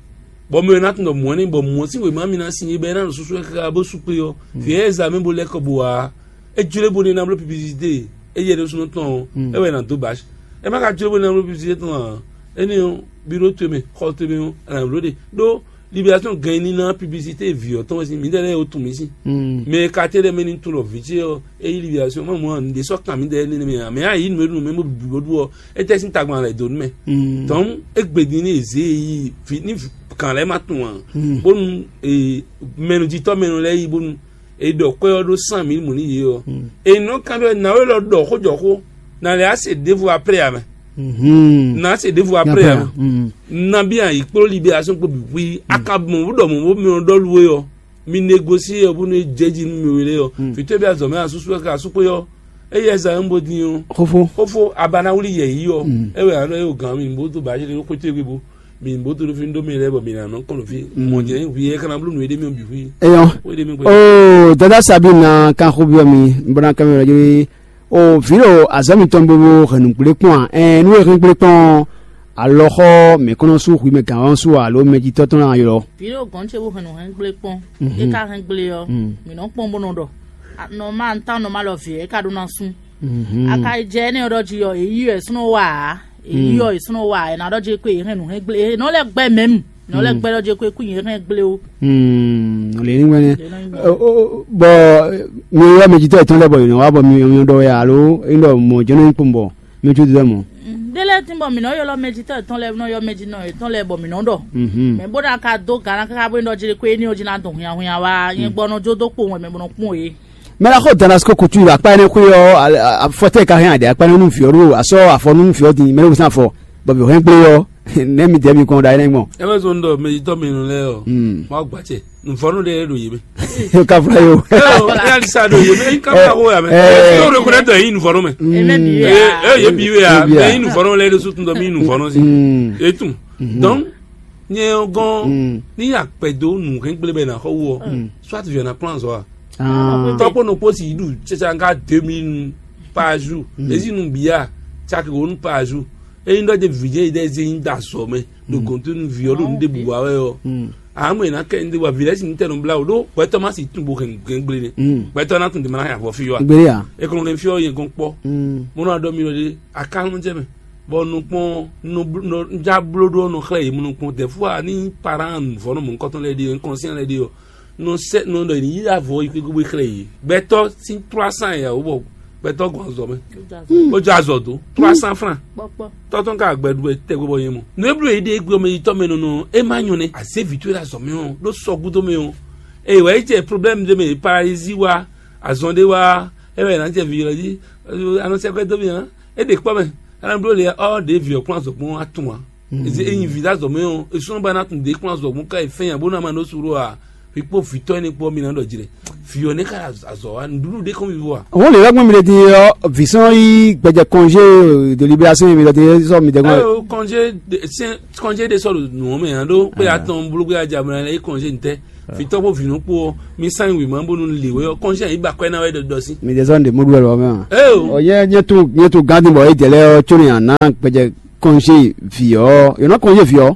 Bɔ mɛ ɔ́ ná tunwun ɖɔ mɔ̌ nɛ́, bɔ mɔ̌ sín wěma mì ná sin é bɛ́ ná ɖo súsú wɛ káká bó sú kpé ɔ́, vǐ ɛ zǎ mɛ bó lɛ́ kɔ bo ǎ. É jló bó ɖe ná bló piblisité, é yɛ ɖésúnɔ tɔn ɔ́, é wɛ è nǎ dó bǎ. É má ka jló bó ɖe ná bló piblisité tɔn ǎ. Énɛ́ ɔ́, biro towe mɛ, xɔ towe mɛ ɔ́, è nǎ bló ɖe. Ɖó libération gan ɛ ní ná piblisité vǐ ɔ́ tɔn wɛ sín, mǐdɛɛ lɛ́ɛ ó tun mǐ sín. Mɛ e ka tɛ́ lɛ́ɛ mɛ ní tunwun ɖɔ vǐ ce ɔ́, é yí libération, má mɔ nǔɖé sɔ́ kan mǐdɛɛ énɛ́ mɛ ǎ. Mɛ a yǐ nǔ e ɖu nǔ mɛ bó bǐ bó ɖu ɔ́, é tɛ́ sín tagban lɛ̌ dó nú mɛ. Tɔ̌n, égbé din ní è zě e yi vǐ ní gǎn lɛ́ɛ ma tunwun ǎ, bónú mɛnújitɔ́ mɛnú lɛ́ɛ yi bónú è ɖɔ kwɛ́ ɔ́ ɖó cent mille mɔ̌ nú yě ɔ́, è nɔ kanbyɔ́ nǎwe lɔ ɖɔ xó jɔ xó, nǎ lɛ́ á se ɖěvo apré ǎ mɛ. Nǎ se ɖěvo apré ǎ mɛ. Nabí a yi kpló libération kpó bǐ xwí, a ka mɔ bó ɖɔ mɔ̌ bó mɛ ɔ́ ɖɔ lú é ɔ́, mi négosié ɔ́ bónú é jɛ jí nú mi wele ɔ́. Fǐtɔ́ bí azɔ̌ mɛ asúsú wɛ ká sú xwé ɔ́, éyɛ́ zán bó din ɔ́, Xófó. Xófó, a ba ná wlí yɛ yí ɔ́, é wɛ a nɔ é o gǎn mi bó dó bǎ ɖé xwé towe gbe bó mi bó dó fi ɖó mi lɛ́ɛ bɔ mi ná nɔ kɔn ɖo fí. Mɔ jɛ hwi é kana bló nǔ é ɖé mi bǐ hwi. Eyɔn. Wé ɖé mi gbé. O dada Sabine na kan xó byɔ́ mi bó ná kán mi lɔ jí. O vǐ ɖo azɔ̌ mitɔn bo bo hɛn nǔgblé kpɔ́n a? Ɛn nú e hɛn gblé kpɔ́n alɔxɔ mǐ kɔn nɔ sú hwi mɛ gǎn ɔ́ sú alo mɛjitɔ́ tɔn ná ylɔ́. Vǐ ɖo gɔ̌n ce bó hɛn nǔ hɛn gblé kpɔ́n. É ka hɛn gblé ɔ́, mǐ nɔ kpɔ́n bó nɔ ɖɔ nɔ ma ntán nɔ ma lɔ vǐ é ka ɖó ná sú. A ka yi jɛ énɛ́ ɔ́ ɖɔ jí ɔ́, èyí ɔ́ è súnɔ wa ǎ. Èyí ɔ́ è súnɔ wa ǎ, è nǎ ɖɔ jí kwe è hɛn nǔ hɛn gblé, è nɔ lɛ́ gbɛ́ mɛ̌mu, è nɔ lɛ́ gbɛ́ ɖɔ jí kwe kú yě hɛn gblé ó. Lě ní gbɛ́nɛ. Bɔ mi ylɔ́ mɛjitɔ́ yětɔn lɛ́ɛ bɔ yě nɔ wá bɔ mi mi ɖɔ wɛ alo é ɖɔ mɔ̌ jɛ́n nɔ nyí kpɔ́n bɔ mi jú dɔ́ mɔ̌. Dé lɛ́ɛ tín bɔ mǐ nɔ ylɔ́ mɛjitɔ́ yětɔn lɛ́ɛ nɔ ylɔ́ mɛjinɔ yětɔn lɛ́ɛ bɔ mǐ nɔ ɖɔ. Mɛ bó ná ka dó gǎn ná káká bó ní ɖɔ jí kwe éní ɔ́ jí ná dɔn hwinhwanhwin wá, nyɛ gbɔ nɔ jó dó kpowun wɛ mɛ bó nɔ kpɔ́n yě. Mɛ la xɔ Damasko kutu yi akpa ɛnɛ xwe ɔ, afɔtɛ ka hɛn adi akpa ɛnɛ nu viɔ ɖo asɔ afɔ nu viɔ di mɛ ne wusan afɔ bɔbi hɛn gble ɔ ne mi dɛ mi kɔn da ɛnɛ gbɔn. Ebe zɔn dɔ mɛ yitɔ mi nu lɛ ɔ, ma gba cɛ nufɔnu de do yi mi. Ka fla yo. Ɛ ɔ, ɛ alisa do yi mi, ka fla ko ya mɛ. Ɛ ɔ, ko ne dɔ yi nufɔnu mɛ. Ɛ ɛ ye bi we ya, mɛ yi nufɔnu lɛ de su tun dɔ mi nufɔnu si. Etun. Donc nyɛ gɔn ni akpɛ do nu hɛn gble bɛ na xɔ wɔ. Soit viɔ na plan zɔ a. Tɔkpɔ nɔ kpɔsi yi ɖu tsɛtsɛ nka deux mille par jour. Ezi nu bia tsaki wo nu par jour. Eyi ɖɔ de vijɛ yi ɖe ezi yi da zɔ mɛ. Ɖo gɔnto nu viɔ ɖo nu de bu wa wɛ yɔ. Amɔ yi na kɛ nu de wa vi lɛ si nu tɛ nu bla o ɖo gbɛtɔ ma si tun bo hɛn gɛngble ne. Gbɛtɔ na tun de ma na ya vɔ fi yɔ a. Gbere ya. Ekɔnɔ kɛ fi yɔ yɛ gɔn kpɔ. Mo na dɔ mi lɔ de akalun jɛ mɛ. Bɔ nukpɔn nudza blo ɖo nɔ xlɛ yi mo nukpɔn de fua ni paran vɔ nɔ mɔ nkɔtɔn lɛ de nkɔnsiɛn lɛ de yɔ. Nɔ sɛ nɔ ɖɔ yi yi avɔ yi kpékpé xlɛ yi gbɛtɔ sin trois cents ya wo bɔ gbɛtɔ gɔn azɔ mɛ o jɔ azɔ do trois cents francs. Tɔtɔn ka gbɛ ɖu tɛ gbɛ bɔ yɛn mɔ nu eblo yi ɖe gbɛ mɛ yi tɔ mɛ nɔnɔ e ma nyɔ nɛ aze vi to la zɔ mɛ o ɖo sɔgudo mɛ o. Eye wɛ yi jɛ problème de mɛ paralysie wa azɔn de wa e wɛ na jɛ vi yɔ ji anɔ sɛ kɔ do mi hã e ɖe kpɔ mɛ ana blo le ɔ ɖe vi ɔ kplɔn azɔ gbɔn atun wa. Ezi eyin vi da zɔ mɛ o esun ba na tun de kplɔn azɔ gbɔn ka yi fɛn ya bo na ma no suro a. Mi kpó vǐtɔ́ énɛ́ kpó ɔ́, mi ná ɖɔ jlɛ. Vǐ ɔ́ nɛ́ ka ɖo azɔ̌ wa, nǔɖuɖu ɖé kɔn mi wú a? Wọ́n lè lɛ́ gbọ́n mi ɖe din ɔ́, vǐ sɔ́n yí gbɛjɛ kɔnjé de libération mi ɖɔ din sɔ́ mi dɛ gbọ́n. Ayo, kɔnjé de sɛn kɔnjé de sɔ́ ɖo nǔ ɔ́ mɛ ǎ ɖó pé atɔn blógbé aja mɛ lɛ yí kɔnjé ntɛ́. Vǐtɔ́ kpó vǐnɔ kpó ɔ́, mi sán wǐ ma bónú lě wɛ ɔ́, kɔnjé yí ba kwɛ́ ná wɛ ɖɔ ɖɔ sí. Mi ɖe sɔ́ ɖe mɔ ɖu wɛ lɔ mɛ a? Eo. Ɔ nyɛ nyɛ to nyɛ to gán din bɔ é jɛ lɛ ɔ tsó ni a ná gbɛjɛ kɔnjé vǐ ɔ́, yǒ ná kɔnjé vǐ ɔ́.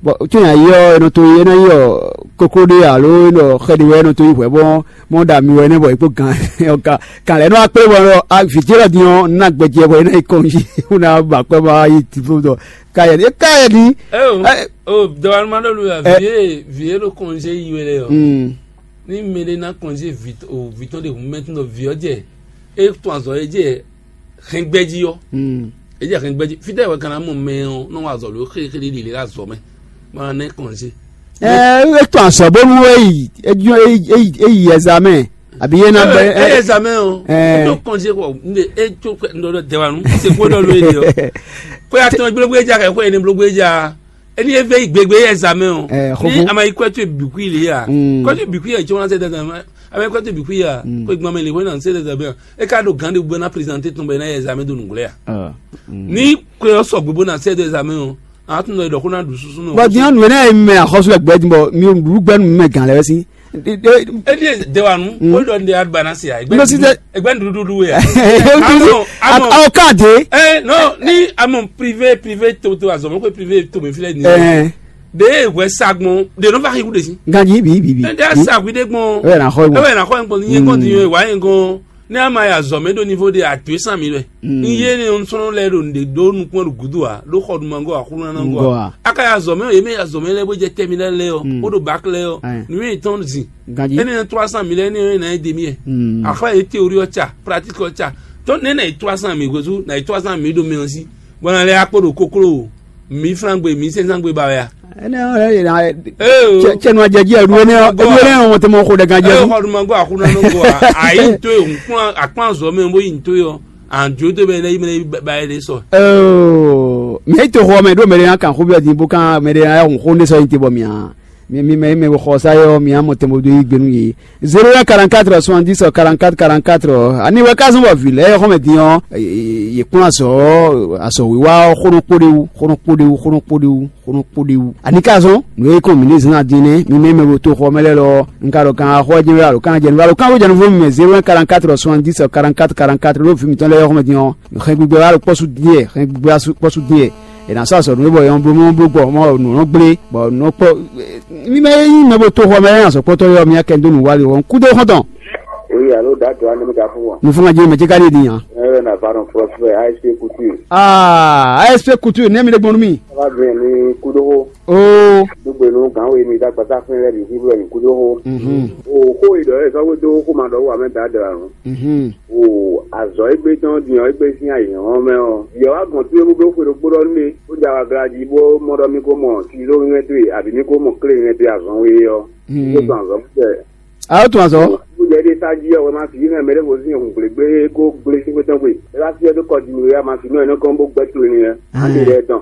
Bɔn tó yàn yí ɔ́, è nɔ to é ná nyí ɔ kokló ɖé alo é nɔ xɛ ɖé wɛ é nɔ to yi hwɛ bɔ mɔ ɖa mi wɛ nɛ bɔ é kpó gan ɔ ka kan lɛ nɔ akpé bɔ ɔ vǐ ce lɔ din ɔ́ ná gbɛjɛ bɔ é ná yi kɔn jí bó ná ba kpɛ bɔ yi ti fó tɔ ka yɛ ni ka yɛ ni. Eo, o dɔwanu ma ɖo lu ya. Vie vie ɖo kɔnze yi wɛ lɛ ɔ. Ni mɛ ɖé ná kɔnze vi o vi tɔn ɖe hun mɛ tún ɖɔ vi ɔ jɛ e tún azɔ e jɛ hɛngbɛji ɔ. E jɛ hɛngbɛji fitɛ wɛ kana mɔ mɛ ɔ nɔ wa azɔ lo xexele ɖi le azɔ mɛ ma nɛ kɔnze. Ɛ e tún azɔ bónú e yi e yi e yi examen àbí e na bɛ e examen o e tó kɔnze kɔ n de e tó ndɔdɔ dɛwanu se kó dɔ lo e de ɔ kó ya tɔn gbégbé ja kɛ kó e ne blógbé ja. Eni e ve yi gbegbe yɛ zame o. Ni ama yi kwɛtu bikui le ya. Kwɛtu bikui yɛ jɔn se dada ma ama yi kwɛtu bikui ya ko gbɔn mɛ le wɛn na se dada bɛ e ka ɖo gan de bu na prezante tɔn bɛ na yɛ zame do nugblɛ ya. Ni ko yɔ sɔ gbogbo na se do zame o. A tún nɔ ɖɔ ko na ɖu susu nɔ. Bɔn diɲɛ nuyɛ ne ye mɛ axɔsu lɛ gbɛ din bɔ mi ɖu gbɛ nu mɛ gan lɛ wɛ si. Edi de wa nu o ɖɔ nde adbana si a. Egbe nuɖuɖu ya. Awo kan de. Ɛ nɔ ni amɔ privé privé to to azɔmɔ ko privé to mi filɛ ni. De hwɛ sa gbɔn de nɔ va xixu de si. Ganji bi bi bi. Ɛn de asa gui de gbɔn. Ɛwɛ na xɔ gbɔn. Ɛwɛ na xɔ gbɔn ni yɛ kɔn ti yɛ wa yɛ gɔn. Ne ama ya zɔ mɛ ɖo niveau de atu e san mi lɛ. N ye ne n sɔnɔ lɛ ɖo nde ɖo nukun ɖo gudu a ɖo xɔ dumangɔ a xulunanangɔ a. Aka ya zɔ mɛ ye mɛ ya zɔ mɛ lɛ bo jɛ tɛmi lɛ lɛ ɔ o ɖo bak lɛ ɔ. Nu ye tɔn zin. Ganji. Ene na trois cent mille ene na ye demi yɛ. Afa ye théorie ɔ tsa pratique ɔ tsa. Tɔn ne na ye trois cent mille gozu na ye trois cent mille ɖo mɛ ɔ si. Bɔn na lɛ akpɔ ɖo koklo. Mi flan gbe mi sɛnsɛn gbe ba wɛ a. Ene ɔ yɛ na. Cɛ nu ajɛ ji ɛlu ene ɔ ɛlu ene ɔ wɔn tɛ mɔ xo ɖɛ gan jɛ. Ɛ xɔ duma go akuna no go a ayi to ye nkun akpan zɔ mɛ bo yi to yɔ anjo to bɛ ne yi mɛ ba ye de sɔ. Mɛ yi to xɔ mɛ ɖo mɛ de yan kan xo bi ɔdi bo kan mɛ de yan ya hun xo ne sɔ yi te bɔ mia mi mi mɛ yi mɛ xɔ sa yɔ mia mɔ tɛmɛ do yi gbenu ye. Zéro un quarante-quatre soixante-dix quarante-quatre quarante-quatre. Ani wɛ ka zɔn bɔ vǐ lɛ́ɛ xɔmɛ din ɔ́, yě kplɔ́n azɔ̌ azɔ̌wiwa ɔ́ xónɔ kpó ɖé wú, xónɔ kpó ɖé wú, xónɔ kpó ɖé wú, xónɔ kpó ɖé wú. Ani ka zɔn nǔ e kɔn mǐ ní zán din nɛ́, mi mɛ mɛ bo to xɔ mɛ lɛ́ɛ lɔ, un ka ɖɔ kan xɔ jɛ́n wɛ alo kan jɛ nǔ alo kan wé jɛ nǔ vɔ mɛ zéro un quarante-quatre soixante-dix quarante-quatre quarante-quatre ɖó vǐ mǐtɔn lɛ́ɛ xɔmɛ din ɔ́, xɛn gbígbɛ wá ɖo kpɔ́ sú dín ɛ, xɛn gbígbɛ wá sú kpɔ́ sú dín ɛ. È nǎ sɔ́ azɔ̌ nú we bɔ è nɔ bló mɔ bló gbɔ mɔ nǔ nɔ gblé bɔ nǔ nɔ kpɔ́. Mi mɛ e nyí mɛ bo to xɔ mɛ e azɔ̌ kpɔ́tɔ́ yɔ mi akɛn dó nǔ wali ɔ́ kúdó xɔ́ntɔn. Oui, alo da do ane mi ka fún wọn. Nufúnga jẹ́ mɛ jẹ́ ká ní èdè yàn. Ẹ yọ na ba nọ kplɔ fún ẹ A S P kutu. Aa A S P kutu nɛ mi ɖe gbɔn nú mi. Aba bẹ ni kudo ho. Oo. Dugbe nu gan wo mi da gbasa fún ẹ bi fi bẹ ni kudo ho. Mhm. O ko idɔ ẹ sọ wo do ko ma dɔ wa mẹ da dra nu. Mhm. O azɔ egbe tɔn diɔ egbe sin ayi hɔn mɛ ɔ. Yɔ wa gbɔn tu ewu blo xwe ɖokpo ɖɔ nú mi. Ó ja wa gla jí bó mɔ ɖɔ mi ko mɔ sizo mi mɛ dwe abi mi ko mɔ klé mi mɛ dwe azɔn we ɔ. Mi ko tɔn azɔn fɛ. A ó tún azɔ. Ó jẹ́ dé sáájú ọ̀rọ̀ máa fi yín náà mẹ́rẹ́ kò sí ìhùn gbèlégbé kó gblé sí pé tán pé. Ẹ bá fi ọdún kọ jìnnì rẹ̀, a máa fi inú ẹ̀ náà kán bó gbẹ́ tó ní rẹ̀. Á lè rẹ̀ tán.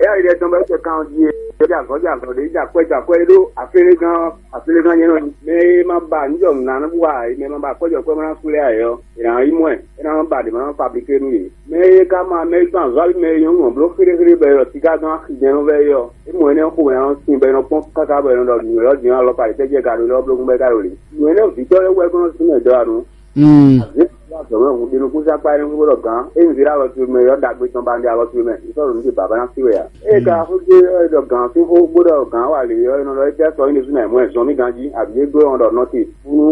Ẹ yà rẹ̀ tán bá ṣe kàn di ẹ jà kọ́ jà kọ́ dé jà kọ́ jà kọ́ ẹ ló àfẹ́rẹ́ gan àfẹ́rẹ́ gan yẹn náà ni. Mẹ ẹ má ba níjọ nà ní wà ẹ mẹ má ba kọjọ kọ́ má kú lẹ́ àyọ. Ìràn yín mọ́ ẹ̀ ẹ náà má ba dè má fabriqué nú yìí. Mɛ e ka ma mɛ e tɔn azɔ̌ ali mɛ e nyɔ́ mɔ bló xéɖéxéɖé bɔ è ɖɔ siká gán axi jɛ́n nɔ vɛ é ɔ́, é mɔ énɛ́ xo wɛ ɔ́ sin bɔ è nɔ kpɔ́n káká bɔ è nɔ ɖɔ nǔ élɔ́ din ɔ́ alɔkpa ɖě tɛ́ jɛ ka ɖo élɔ́ bló gún bɔ é ka ɖo lě. Nǔ énɛ́ vǐtɔ́ lɛ́ɛ wú wɛ gbɔn sín mɛ dɔ́ anu. Azě azɔ̌ mɛ hǔn ɖe nukúnsa kpá énɛ́ xó ɖɔ gǎn é un zé ɖó alɔ towe mɛ é ɔ́ ɖagbe tɔn ba un ɖe alɔ towe mɛ un sɔ́ ɖo nǔ ce bǎbá ná sí wɛ ǎ. Ée ka xó dó é ɖɔ gǎn sín xó bó ɖɔ gǎn wa lě ɔ́, é nɔ ɖɔ étɛ́ sɔ nyí ɖésú ná mɔ ɛ zɔn mì ganjí, abǐ é glɔ́ ɔ́ ɖɔ nɔ́ te. Fúnú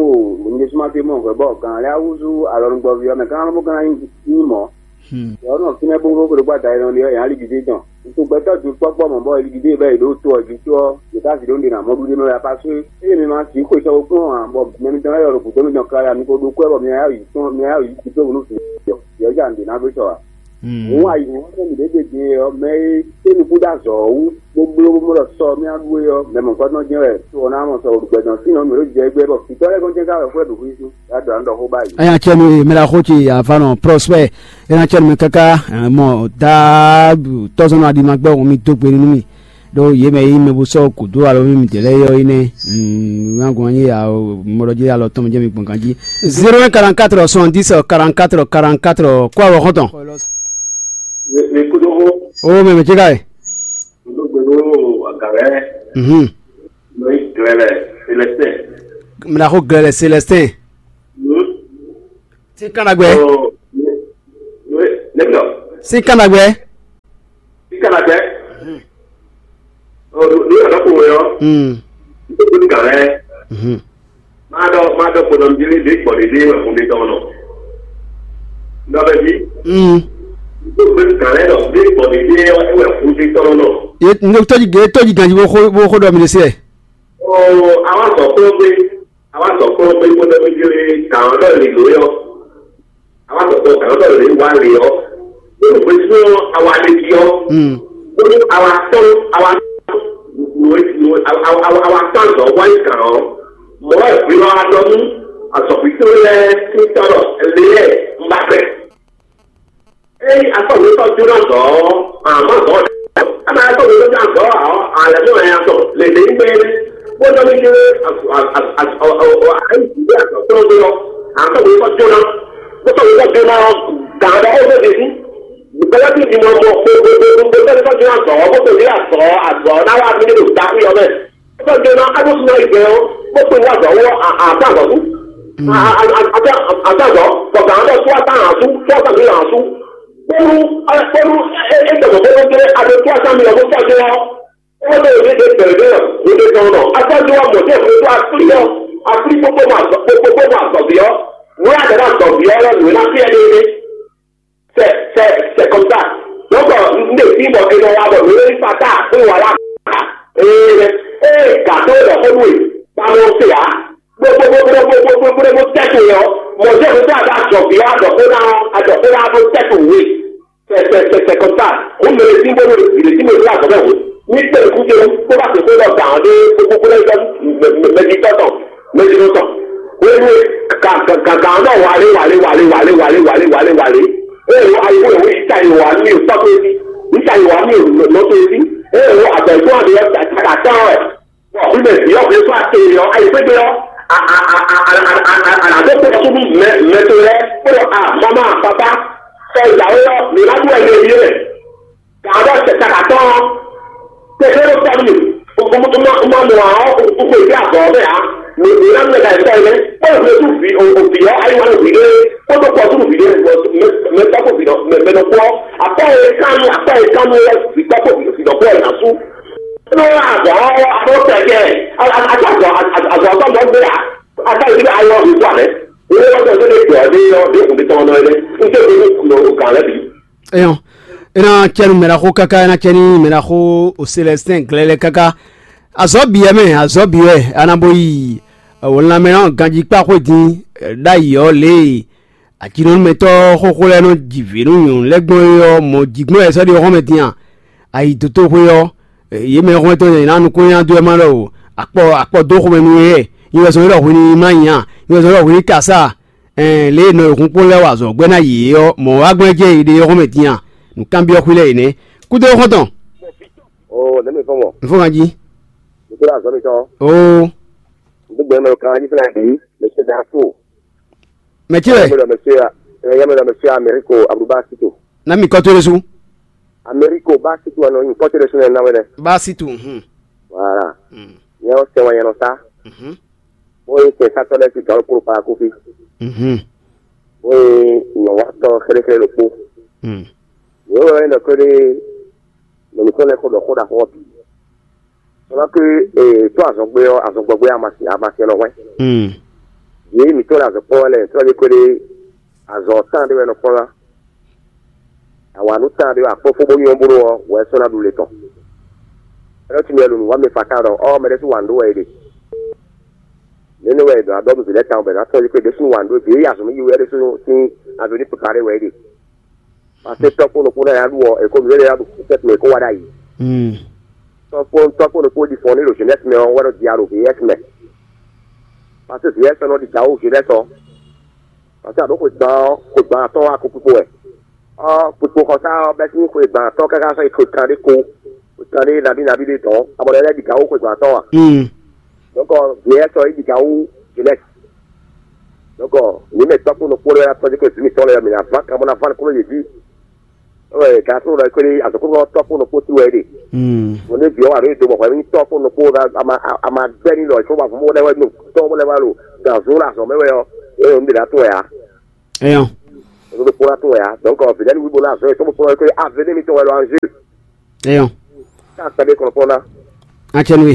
o nyí ɖésú má té mɔ hwɛ bɔ gǎn lɛ́ɛ á húzú alɔnugbɔví ɔ́ mɛ gán bó gán ná nyí mɔ̌. Yɔ̌ nɔ fínɛ́ bóbó xwedó gbada e nɔ ɖe ɔ́, yě ná lí ɖiɖe tɔn. Ntogbɛtɔ́ dutɔ́ kpɔ́ mɔ̌ bɔ è lí ɖiɖe bɛ́ è ɖó to ɔ́ jí tó ɔ́, yě ká zǐ ɖó ɖe nǎ mɔ ɖuɖé mɛ wɛ apá só. Ée mi ma sǐ xwe sɔ kplɔ́n ǎ, bɔ mɛ mitɔn lɛ́ɛ ɖɔ ɖo gǔdo mitɔn káká mi ko ɖó kwɛ́ bɔ mi ná yá yi tɔn mi ná yá yi tito wǔ nú vǐ yɔ̌ yɔ̌ ja nǔɖé ná ɖó sɔ ǎ. Hǔn ayǐhɔ́ngbe mǐ ɖě ɖe ɖe ɔ́, mɛ e é nukún dó azɔ̌ ɔ́ wú, bó bló bó mɔ ɖɔ sɔ mì aɖu é ɔ́, mɛ mɔ̌hunkɔtɔn jɛ́n wɛ to ɔ́ ná mɔ sɔ ɖo gbɛ tɔn sín ɔ́, mǐ ɖo jɛ égbé bɔ vǐtɔ́ lɛ́ɛ gɔ́n jɛ́n ká wɛ xwlɛ́ ɖo xwíxwí. Yá ɖɔ nǔ ɖɔ xó báyìí. Anya cɛ mi mɛ la xo ci avanɔ prospect ena cɛ mi kaka mɔ da tɔzɔnɔ adi ma gbɛ wɔn mi do gbe nínú mi. Ɖó yě mɛ e nyí mɛ bó sɔ́ gǔdo alɔmímì dě lɛ́ɛ é ɔ́ é nɛ́. Nǎ gɔn nyí ya mɔɖɔ jí alɔ tɔn jɛ mi gbɔn ganjí. Zéro un quarante-quatre soixante-dix quarante-quatre quarante-quatre kó awɔ xɔ́ntɔn. Mi kúdó xó. Ó mɛ mɛ cíká e. Kúdó gbé ɖó agǎlɛ. Mhm. Nɔ yi glɛ lɛ Célestin. Mla xó glɛ lɛ Célestin. Mhm. Sín kánnagbɛ. Ɔ, ne, ne, ne, ne, Sín kánnagbɛ. Sín kánnagbɛ. Ɔ, ní ọ̀dọ́ kò wẹ̀ ọ́. Hmm. Nítorí kàn rẹ̀. Mhm. Máa dọ́, máa dọ́ kpọ̀nà bí lé dé kpọ̀ lé dé wẹ̀ fún mi tán nọ. Ńdọ́ bẹ́ẹ̀ bí. Hmm. Nítorí kàn rẹ̀ dọ̀ dé kpọ̀ lé dé wẹ̀ fún mi tán nọ. Ye, ndo tɔji ge, tɔji ganji bó xó, bó xó dɔ mi ɖe se. Ɔ, àwọn sọ pé ó gbé. Àwa sɔkplɔ́n kpé kpódó mí kán ɖɔ lǐló ɔ́, àwa sɔkplɔ́n kán ɖɔ lě wá lě ɔ́, bó ɖo xwésú ɔ́, àwa ɖe jí ɔ́, bónú àwa tɔ́n àwa nǔ e nǔ e àwa àwa àwa tɔ́n azɔ̌ wá yi gǎn ɔ́, mɔ̌ wɛ hwi nɔ wá ɖɔ nú azɔ̌xwítɔ́ lɛ́ɛ sín tɔ́ ɖɔ lě lɛ́ɛ un ba gbɛ. Eye akɔ́wé tɔ́ jóná dɔ̌ ɔ́, àmọ́ dɔ̌ ɔ́, ama akɔ́wé tɔ́ jóná dɔ̌ ɔ́, alɛ mɔ ɛ atɔ le ɖe ŋgbɛ bó dɔ mi kéré ayi jǐ atɔ tɔn gbé ɔ́, akɔ́wé tɔ́ jóná, bó tɔ́ tɔ́ jóná ɔ́, gǎn ɖɔ ó fẹ́ ɖe sí, gbɛlɛ bí mi mɔ mɔ gbogbogbogbo tɔ́ tɔ́ jóná dɔ̌ ɔ́, bó tɔ́ jóná dɔ̌ azɔ̌ ná wá mi ɖo daxwé ɔ́ mɛ. Tɔjɔna aɖósúná yi gbɛ ɔ́, bó kpe wá azɔ̌ wú ɔ́, a- a- azɔ̌ sú. A- a- a- azɔ̌, bɔ gǎn ɖɔ sú atán hǎn sú, sú atán mǐ hǎn sú. Bónú bónú é é gbɔdɔ bónú dé aɖó sú atán mǐ ɔ́ bó sɔ́ dó ɔ́, é wá bɛ́ yě ɖe gbɛ̌ ɖé ɔ́, yě ɖe tɔn nɔ. Atán dó wá mɔ̌ jẹ́ fún tó aflí ɔ́, aflí kpókpó mɔ azɔ̌ kpókpó mɔ azɔ̌ví ɔ́, nǔ e a ɖǒ ná azɔ̌ví ɔ́ lɛ́ɛ nǔ e ná fí ɛ ɖé é. C'est, c'est, c'est comme ça. Donc, euh, nous décidons que nous avons le Fatah, et voilà. Et, et gâteau de Honoé, pas mon C A. Gbogbogbogbogbogbogbogbo tɛ́tù yɔ, mɔ̀jẹ́ mi tó àdá àjọ̀bí àjọ̀kúnná àjọ̀kúnná tó tɛ́tù wé. C'est, c'est, c'est, c'est comme ça. Ó mɛ lè sí gbọ́dọ̀ lè sí mɛ fúlà sọ́mẹ́ wò. Ní pẹ̀lú kúndé kó bá ti kó lọ gà ọ́ dé gbogbo lẹ́yìn lọ́dún mẹ́jì tọ́tọ̀. Mezirotɔ. Wéwé, gǎgǎgǎ ɔ́ nɔ wǎlé wǎlé wǎlé wǎlé wǎlé wǎlé wǎlé wǎlé wǎlé. Ée wo ayiwú e wú yǐta yi wǎ nú mì tɔ́ tó sí. Yǐta yi wǎ nú mì nɔ tó sí. Ée wo abɛ̌gbɔn ɔ́ ɖe ɔ́ ta ta tɔ́n wɛ. Bɔ hwi mɛ vǐ ɔ́ hwesú ate ɔ́ ayi xwé gbe ɔ́. Anǎdó kpé ɔ́ súnú mɛ mɛ to lɛ́ɛ kpó ɖɔ a mama papa. Sɛ yǎwé ɔ́, mǐ ná ɖu wɛ mɛ yě mɛ. Gǎn ɖɔ sɛta ka tɔn ɔ́, tɛtɛ́ ɖo tɔ́ nú mì. Un ma mɔ ǎ ɔ́, un xwe dó azɔ̌ ɔ́ mɛ ǎ. Mǐ mǐ ná mlɛ́ ka tɔ́ ɛnɛ, kpɔ́ nǔɖé sú vǐ o vǐ ɔ́ ayíwá nú vǐɖé, kpódó kpɔ́ sú vǐɖé mɛ tɔ́ kó vǐ mɛ nɔ kpó ɔ́. Akpá e kán nú akpá e kán nú wɛ vǐ tɔ́ kó vǐ dɔ̌kpó ɔ́ ná sú. Nú azɔ̌ ɔ́ a nɔ tɛ kɛ, a a a azɔ̌ azɔ̌ azɔ̌ mɔ̌ gbé ǎ. A ka yi ayɔ vǐ tɔ́ ǎ mɛ. Wọ́n wá sọ pé ní ìgbà dé yọ dé kùn bí tán náà lé. Ń tẹ́ pé ní kùn lọ gǎn lẹ́bi. Eyɔn, ena cɛnu mɛɖaxó káká, ena cɛni mɛɖaxó o Célestin glɛlɛ káká. Azɔ̌ bǐ wɛ mɛ, azɔ̌ bǐ wɛ a nǎ bó yi wǒnlamɛ ɔ́ ganjí kpá xwé din ɖ'ayǐ ɔ́ lě e ajinɔnúmɛtɔ́ xóxó lɛ́ɛ nɔ ji vǐ nú nyɔ̌nu lɛ́ɛ gbɔn é ɔ́ mɔ jǐgbɔ́n wɛ sɔ́ ɖi xɔ́mɛ din a? Ayi dotóxwé ɔ́, yě mɛ xɔ́ntɔn nyanya nukúnnya dó wɛ má ɖɔ o, akpɔ akpɔ dó xomɛ nú yě, nyɛ wɛ zɔn ɖɔ hwi ní má nya, nyɛ wɛ zɔn ɖɔ hwi ní kasá. Ɛn lě e nɔ e hun kpɔ́n lɛ́ɛ wa azɔ̌ gbɛ́ ná yě ɔ́, mɔ̌ wá gbɛ́ jɛ yě ɖe ɔ́ xɔ́mɛ din a? Nǔkanbyɔ́ xwí lɛ́ɛ yě nɛ́. Kúdó xɔ́ntɔn. Oo, nɛ̌ mi fɔ́n mɔ? Nǔ fɔ́n ganjí. Mi kúdó azɔ̌ mitɔn. Oo. Gbígbɛ mɛ kan jí fúnra bí, mɛ ṣe dá tó. Mɛ tí wɛ? Yɛmɛ dɔ mɛ ṣe, yɛmɛ dɔ mɛ ṣe Amérique Abudu bá sí tó. Ná mi kɔtó ɖésú. Amérique bá sí tó anɔ nyi kɔtó ɖésú nɛ ná wɛ dɛ. Bá sí tó. Hmm. Voilà. Hmm. Nyɛ ɔ́ sɛ wɛ nyɛ nɔ sá. Mhm. Bó nyí kɛnsátɔ́ lɛ́ɛ sín gǎn ɖokpó ɖo Palakófí. Mhm. Bó nyí nyɔ̌watɔ́ xéɖéxéɖé ɖokpó. Mm. Yě wɛ nyí ɖɔ kpéɖé mɛ mǐtɔn lɛ́ɛ ko ɖɔ xó ɖaxó ɔ́ bǐ. Sɔ́ ná kí ee tó azɔn gbé ɔ́, azɔn gbɔ gbé amasi amasi nɔ hwɛ́n. Mm. Yě mǐtɔn lɛ́ɛ azɔn kpɔ́n wɛ lɛ́ɛ, sɔ́ ná kpéɖé azɔn tán ɖé wɛ nɔ kpɔ́n ná. Awǎnú tán ɖé wɛ akpɔ́ fó bó nyɔ́ bó ɖó ɔ́, wɛ sɔ́ ná ɖu le tɔn. Ɛlɔ́ tún mɛ lunu wá mi fata ɖɔ ɔ́ mɛ ɖésú wǎn ɖó wɛ é ɖe. Nɛnɛ wɛ è ɖɔ abɔ́ mi vǐ lɛ́ɛ tawun bɔ è nǎ tɔ́n yí kpé ɖésú wǎn ɖó dě yi azɔ̌ mi yi wɛ ɖésú sín azɔ̌ ní kpekpa ɖé wɛ é ɖe. Paseke tɔ́ kpó nukún náà yá ɖu ɔ́, è ko mǐ lɛ́ yá ɖu kúkú tɛ́ tɛ́ kó wá ɖ'ayǐ. Tɔ́ kpó tɔ́ kpó nukún ɖi fɔn ní ɖo Genèse mɛ ɔ́ wɛ nɔ di alo vǐ S mɛ. Paseke vǐ S nɔ ɖi dǎ ó Genèse ɔ́. Paseke àɖó xwegban ɔ́, xwegban atɔ́ wá kó kpikpo wɛ. Ɔ́ kpikpo xɔsá ɔ́ bɛ́ sín xwegban atɔ́ káká sɔ́ yi xwe kanɖé ko. Kan ɖé nabí nabí ɖé tɔn, abɔ ɖe lɛ́ ɖi gǎn wú xwegban tɔn a? Mm. Donc, vǐ lɛ́ɛ sɔ é ɖi gǎn wú jeunesse. Donc, mǐ mɛ tɔ́kpó nukpó lɛ́ɛ tɔ́jú kó zǐ mǐtɔn lɛ́ɛ mǐ ná ván kan bó ná ván kúrò yě jí. Ɔ́, gǎn tó lɔ kpé azɔ̌kúnú tɔ́kpó nukpó tí wɛ é ɖe. Mm. Mo ní vǐ ɔ́ wà ɖó do bɔ hwɛ ní tɔ́kpó nukpó a ma gbɛ́ ní lɔ ìfowópamọ́ lɛ́ɛ wɛ nú tɔ́ lɛ́ɛ wá lo gǎnzó lɛ azɔ̌ mɛ wɛ ɔ́, é yɔ nú ɖě ná tún wɛ ǎ. Eyɔn. Ɖokpó ná tún wɛ ǎ. Donc, vǐɖɛ́ ní wíbo ná azɔ̌ yětɔn bó fɔ́n ɔ́, avenir mǐtɔn wɛ ɖo anjeu. Eyɔn. Ká kpɛɖé kɔn kpɔ́n ná. Acɛnwe.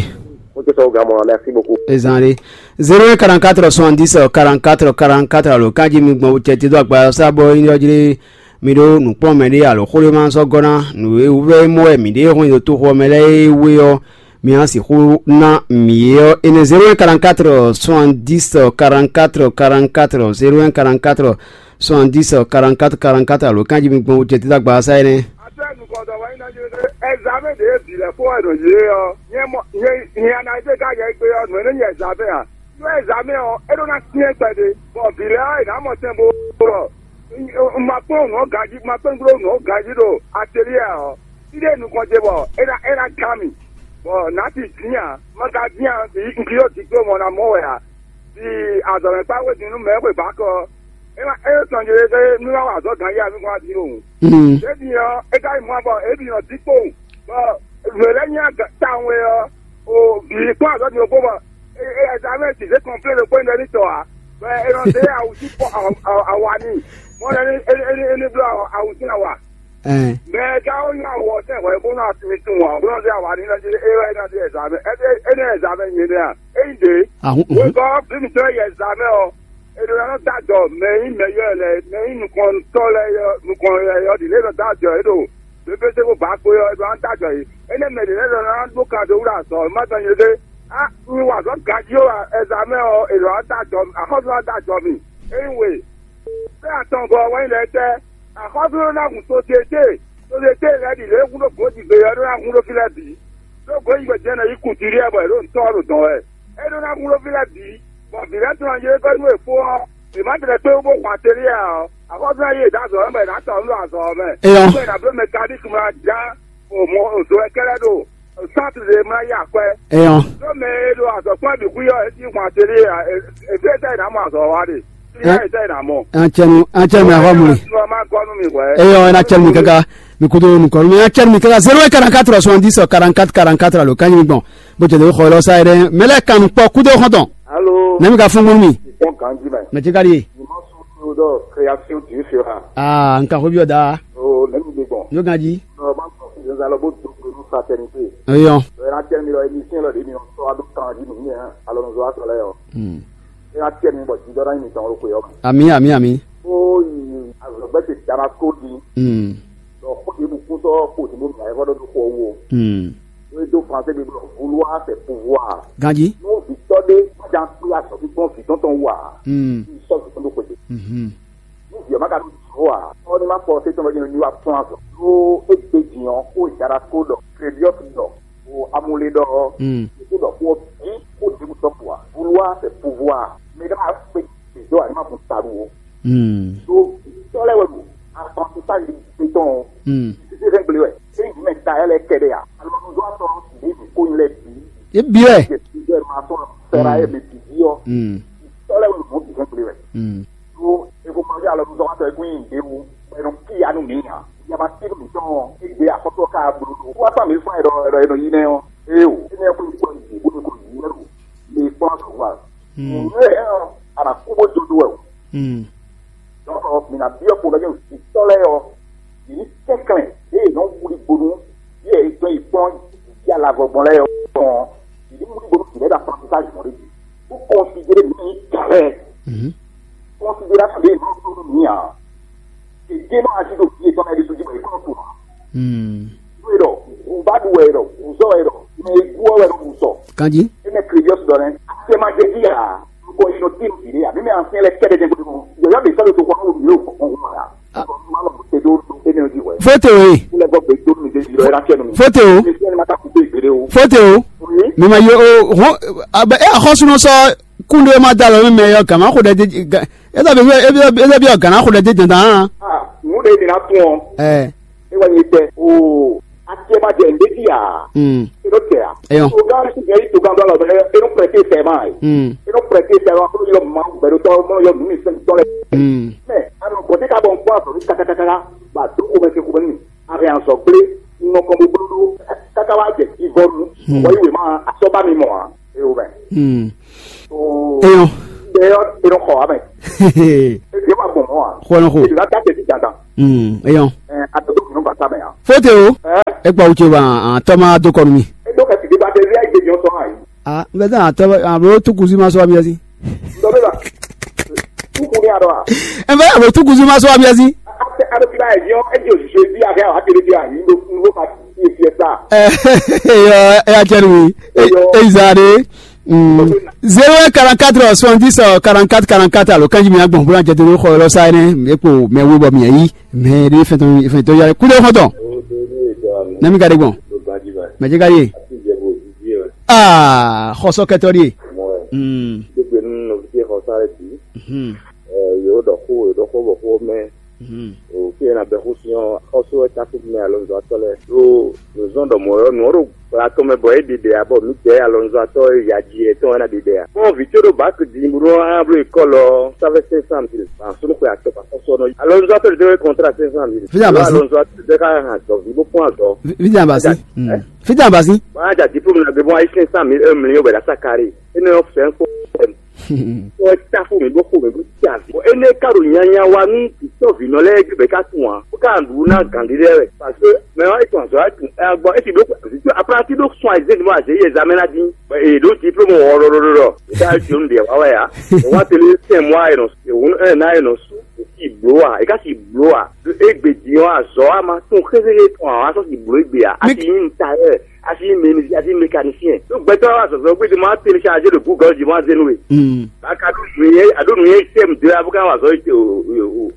Mo tɛ sɔn gamɔ, merci beaucoup. Ezan ɖe. Zéro un quarante-quatre soixante-dix quarante-quatre quarante-quatre alo kanji mi gbɔn cɛ ti dó agba sa bɔ nyɔjlé mi ɖó nǔkplɔ́nmɛ ɖé alo xwléma sɔ́ gɔ́ ná nǔ e wú vɛ́ mɔ wɛ mǐ ɖe hɔn nyi ɖo toxo ɔ́ mɛ lɛ́ɛ e wé ɔ́, mi ná sixú ná mǐ é ɔ́. Énɛ́ zéro un quarante-quatre soixante-dix quarante-quatre quarante-quatre zéro un quarante-quatre soixante-dix quarante-quatre quarante-quatre alo kanji mi gbɔn wú jɛ títí agba sa énɛ́. Atɛ nukɔntɔ wɛ nyí nɔ jɛ ɖe ɛzamɛ ɖe bǐ lɛ fó wɛ nɔ yě ɔ́, nyɛ mɔ nyɛ nyɛ ana ete ká yɛ gbe ɔ́, nɔ ne nyɛ ɛzamɛ a? Nú ɛzamɛ ɔ́, é ɖó ná syɛ́n kpɛɖé, bɔ bǐ lɛ ɔ́, è nǎ mɔ tɛn bó ɖɔ un ma kpɔ́n nǔ ɔ́ ganjí, un ma kpɔ́n nǔ ɔ́ ganjí ɖo atelier ɔ́, fí ɖé nukɔn ce bɔ é ná é ná gán mì, bɔ nǎ ti dín ǎ, ma ka dín ǎ, un ki ɖo diplôme ɔ́ ná mɔ wɛ ǎ. Di azɔ̌mɛkpá wezun nú mɛ e xwe bǎkɔ ɔ́, é ma é tɔn jɛ ɖe nú wá wa azɔ̌ ganjí ǎ, nú kɔn wá dín ɖo wǔ. Ɖěbǔ ɔ́, é ka yi mɔ bɔ é bǐ nɔ dín kpowun, bɔ nǔ e lɛ́ nyí tawun é ɔ́, o bǐ kpɔ́n azɔ̌ din ɖokpó bɔ ɛzamɛ ti zé kɔnplé ɖokpó nyí ɖɔ ní tɔ ǎ, bɔ è nɔ zé awu sí awa n'i, mɔ lɛ ní é ní bló awu sín awa. Ɛn. Mɛ e ka wó nyi awɔ tɛn hwɛ bó nɔ asimi tun ɔ́, bó nɔ zé awa n'i nɔ jí é wɛ é nɔ zé ɛzamɛ, é ní ɛzamɛ nyɛ nɛ́ a? É nyí ɖě. Ahun, uhun. Wěgɔ́ bí mǐtɔn yɛ ɛzamɛ ɔ́, è ɖo ná nɔ dó ajɔ mɛ e nyí mɛyɔ́ lɛ́ɛ, mɛ e nyí nukɔntɔ́ lɛ́ɛ, nukɔn lɛ́ɛ ɔ́ ɖi lě nɔ dó ajɔ yě ɖo pépété bó bǎ kpé ɔ́, é ɖo ná dó ajɔ yě. Énɛ́ mɛ ɖě lɛ́ɛ ɖɔ ná ɖó kan dó wú ɖo azɔ̌, má tɔn nyí ɖé. Á, un wa azɔ̌ ganjí ó, ɛzamɛ ɔ́, è ɖo ná dó ajɔ, axɔ́sú ná dó ajɔ mì. É nyí we. Fɛ́ atɔngɔ́ ɔ́ wɛ nyí lɛ́ɛ tɛ́? Axɔ́sú ɖó ná hun sosiete, sosiete lɛ́ɛ ɖi lě e hun ɖó gǒjigbe ɔ́ ɖó ná hun ɖó fí lɛ́ɛ bǐ. Ɖó gǒjigbe jɛ́n nɔ yí kutúɖiɛ bɔ è ɖo ntɔ́ ɔ́ ɖo dɔn wɛ. É ɖó ná hun ɖó fí lɛ́ɛ bǐ, bɔ vǐ lɛ́ɛ tɔn yě gɔ́ nú è fó ɔ́, è má tlɛ kpé wú bó hun atelier ǎ ɔ́, axɔ́sú ná yí è dó azɔ̌ ɔ́ mɛ, è nǎ tɔ nú ɖo azɔ̌ ɔ́ mɛ. Eyɔn. Bɔ è nǎ bló mɛkaník mlá já o mɔ o zo wɛ kɛ́lɛ́ ɖo sátidé mlá yí akwɛ́. Eyɔn. Ɖó mɛ e ɖo azɔ̌ kpɔ́n bǐ xwí ɔ́, é cí hun atelier ǎ, è fí é tɛ́ è nǎ mɔ azɔ̌ wa ɖe. Fí é tɛ́ è nǎ mɔ. An cɛnu an cɛnu mɛ xɔ mu li. Má gɔ́ nú mi hwɛ. Eyɔn, ena cɛnu mi kaka. Mi kudo nukɔn mi an cɛnu mi kaka zéro un quarante-quatre soixante-dix quarante-quatre quarante-quatre alo kanyi mi gbɔn. Bó jɛ de xɔ lɔ sa yɛ dɛ mɛ lɛ kanu kpɔ kudo xɔntɔn. Alo. Nɛmi ka fún gbɔn mi. Ìpọ́n ganji mɛ. Mɛ ti ka di. Ìmọ̀ sùn tó dọ̀ création du sera. Aa nka xɔ bi ɔ da. O nɛmi gbé gbɔn. Yóò ganji. Ɔ bá sọ fún ìdílé lọ bó dògbò ní fraternité. Eyɔn. Ɔ yẹn atɛ mi lɔ émission lɔ de mi sɔ ado kan di mi yẹn alonso atɔ lɛ yɔ. Hmm. Yẹn atɛ mi bɔ jidɔ náà mi tɔn ro ko yɔ. Ami ami ami. Ó yi azɔgbɛ ti dama ko di. Hmm. Dɔ kó ti bu kún sɔ kó ti bu mi ayɛ fɔ do kó wo. Hmm. Ó do français bi bɔ vouloir c'est pouvoir. Ganji. N'o vitɔ de majan kpé asɔ fífɔn vitɔ tɔn wa. Hmm. Sɔ vitɔ do kpete. Mhm. Ní vǐ ɔ́ má ka ɖó jǐ ó ǎ, ɔ́ ní má kpɔ ɔ́ tɛ́ntin ɔ́ jí nɔ nyi wá kplɔ́n azɔ̌. Ɖó égbé din ɔ́, xó e Jara ko ɖɔ Klebiɔ́si ɖɔ, xo Amulé ɖɔ ɔ́, Mm. Yě ko ɖɔ xó ɔ́ bǐ xó ɖěbǔ tɔn ko ǎ. Vouloir c'est pouvoir. Mɛ ɖé má kpé gbědó ǎ ní má bun taɖu ó. Mm. Ɖó tɔ́ lɛ́ɛ wɛ ɖo apprentissage gbé tɔn ɔ́. Mm. Títí hɛn gblé wɛ. Ényí mɛ ta ɛ lɛ́ kɛ ɖe ǎ. Alɔnuzɔ́ atɔn ɖě bǐ ko nyí lɛ́ bǐ. Yě bǐ wɛ. Jɛ plusieurs maçons fɛ́ra ɛ mɛ bǐ jí ɔ́. Mm. Tɔ́ lɛ́ɛ wɛ ɖo mɔ̌ bǐ hɛn gblé wɛ. Mm. Ɖó ekomɔnɔjɛ alɔnuzɔ́watɔ́ e kún nyi ɖěbǔ bɔ è nɔ cí ya nú mǐ ǎ. Yaba tín mǐtɔn ɔ́, égbé axɔ́tɔ́ ká bló ɖo wá tán mǐ fún ɛ ɖɔ ɛ ɖɔ è nɔ yi nɛ́ ɔ́. Éeǒ, énɛ́ ɔ́ kún yi kplɔ́n yě bó nɔ ko yǐ wɛ ɖo le kplɔ́n azɔ̌ wa. Nǔ lɛ́ɛ ɔ́, a nǎ kú bó jó dó wɛ o. Dɔ̌nkɔ mǐ ná byɔ́ xomɛ jɛ́n vǐtɔ́ lɛ́ɛ ɔ́, yě ní kɛnklɛ́n ɖěe yě nɔ wlí gbonú yě e dɔn yi kplɔ́n yí alavɔ gbɔn lɛ́ɛ ɔ́ kpɔ́n ɔ́, yě ní wlí gbonú vǐ lɛ́ɛ ɖo apprentissage mɔ̌ ɖé jí, bó considéré mǐ nyí gǎn lɛ́ɛ. Considération ɖě yě nɔ ɖó nú mǐ ǎ. Yě jɛ nɔ ají ɖo vǐ yětɔn lɛ́ɛ ɖésú jí bɔ yě kɔn tunwun ǎ. Nú e ɖɔ wǔ ba ɖu wɛ e ɖɔ wǔ zɔ wɛ e ɖɔ mɛ e gu ɔ́ wɛ ɖo wǔ sɔ. Kanjí. Énɛ́ Klebiɔ́si ɖɔ nɛ́, acɛ ma jɛ jí ǎ, nukɔn yi nɔ tín vǐ ɖé ǎ, mɛmɛ asyɛ́n lɛ́ɛ kɛ́ɖɛ́ jɛ́n gbɔdɔ́ yɔ̌yɔ́ ɖě sɔ́ ɖo toxo ɔ́ mɛ wǔ yě ɖo kɔn kɔn ǎ. Má lɔ te ɖó énɛ́ jí hwɛ. Fóte o ye. Kúlẹ̀ gbọ́ gbé dó mi dé yɔ ẹ ná tiẹ̀ nù mí. Fóte o. Mi sẹ́ni ma ka kú pé ìgbéré o. Fóte o. Mi ma yɔ o hɔn abẹ ẹ axɔsunɔ sɔ kúndé ma da lɔ mi mɛ yɔ gàmá xo ɖɛ dé ga ẹ dàbí ẹ dàbí ẹ gàmá xo ɖɛ dé dandan. Ah, ŋu ɖe mi na tún ọ. Ẹ. E wɛ nyi tɛ o. Atiɛ Wá jɛ nǔɖé jí ǎ. Mm. É nɔ tɛ ǎ. Eyɔn. Togán sí jɛ yí togán dó alɔ bɛ é nɔ prɛtɛ sɛ ma yi. Mm. É nɔ prɛtɛ sɛ ma kó yɔ ma gbɛɖo tɔ mɔ yɔ nǔ mi sɛn tɔ lɛ. Mm. Mɛ alɔ gɔtɛ ka bɔ nkpɔ afɔ mi kakakaka ba do ko mɛ se ko mɛ mi. Avɛ azɔ gblé nɔ kɔ bo bló ɖó kaka wá jɛ jivɔ nu. Mm. Wɔ yi wema asɔba mi mɔ a. É o mɛ. Mm. Eyɔn. Eyɔn. Eyɔn xɔ amɛ. Eyɔn ma gbɔn mɔ a. Xɔ nɔ xo. Eyɔn ta tɛ ti dandan. Hmm. Eyɔn. Ɛ a tɔ tó kùnú bàtà mɛ a. Fóte o. Ɛ. E gba wuce ba an tɔ ma do kɔnu mi. E dó kɛ tìdí ba tɛ zi ayi gbèjọ sɔ ayi. Ah, n bɛ tán an tɔ ma bolo tu kusi ma sɔ mi asi. Dɔ bɛ la. Tukun ni a dɔ a. N bɛ a bolo tu kusi ma sɔ mi asi. A tɛ a bɛ ti ba yɛ diɔ e di o sise di a kɛ a wa tele di a yi ndo ndo ka ti e fiɛ sa. Ɛ, eyɔ, ɛ, a cɛ nu mi. E, e zan de. Mm. Zéro un quarante-quatre soixante-dix quarante-quatre quarante-quatre alo kanji mi agbɔn bóla jɛte ló xɔ lɔ sa ɛnɛ mi kpo mɛ wo bɔ mi yi mɛ de fɛn tɔn fɛn tɔn yare kudo xɔtɔn. Nami ka de gbɔn. Mɛ jɛ ka ye. Aa xɔsɔ kɛtɔ de. Mm. Yóò ɖɔ xó, yóò ɖɔ xó bɔ xó mɛ. O fí e na bɛ xó sin ɔ́, xɔ́sú wɛ tákú mɛ alɔnzɔ́tɔ́ lɛ́ɛ ɖó nǔzɔ́n ɖɔ mɔ̌ ɔ́, nǔ ɔ́ ɖo gbla tɔn mɛ bɔ é ɖiɖe ǎ, bɔ mǐdɛɛ alɔnzɔ́tɔ́ yaji yětɔn wɛ ná ɖiɖe ǎ. Kpɔ́n vǐ có ɖo bǎk din bó nɔ́ á bló ekɔ́l ɔ́, ça fait cinq cent mille. Ba súnnu xwe atɔ́ ba xɔ́sú ɔ́ nɔ yi. Alɔnzɔ́tɔ́ ɖě wɛ kɔntrá cinq cent mille. Fí nya basi. Alɔnzɔ́tɔ́ ɖě ká hɛn azɔ̌ ví bó kpɔ́n azɔ̌. Fí nya basi. Fí nya basi. Wọ́n á jà diplôme ná gbé bó wá yí cinq cent mille, un million bɛ̀rẹ̀ asá kárí. É nɔ fẹ́ kó. Tɔ táfó mǐ bó xo mǐ bó tɛ avǐ. Bɔ énɛ́ ka ɖo nyanya wa nú vǐtɔ́vǐnɔ lɛ́ɛ gbé bɔ é ka tunwun ǎ, bó ka ɖu ná gǎn ɖé lɛ́ɛ wɛ. Parce que mɛ ɔ́, é tun azɔ̌, é tun ɛ gbɔ, é ti ɖó vǐtɔ́ apranti ɖó sun azé mɔ azé yɛ zamɛ ná dín. Bɔ è ɖǒ diplôme wɔlɔlɔlɔ. È ka jǒ nu ɖe wá wɛ ǎ. È wá télé sɛn mɔ ayɛ nɔ, è wǔ ɛ ná ayɛ nɔ sú. È si blǒ a? È ka si blǒ a? Ɖo égbé din ɔ́, azɔ̌ a ma tún xéxéxé tɔn ǎ, wá sɔ́ si blǒ égbé a? A si nyí un tailleur, a si nyí menuisier, a si nyí mécanicien. Ɖó gbɛtɔ́ wá zɔzɔ gbé din ma télécharger ɖo Google din ma zé nú we. Mm. Baka ɖó nǔnyɛ, a ɖó nǔnyɛ tɛm dó ya bó ká wá zɔ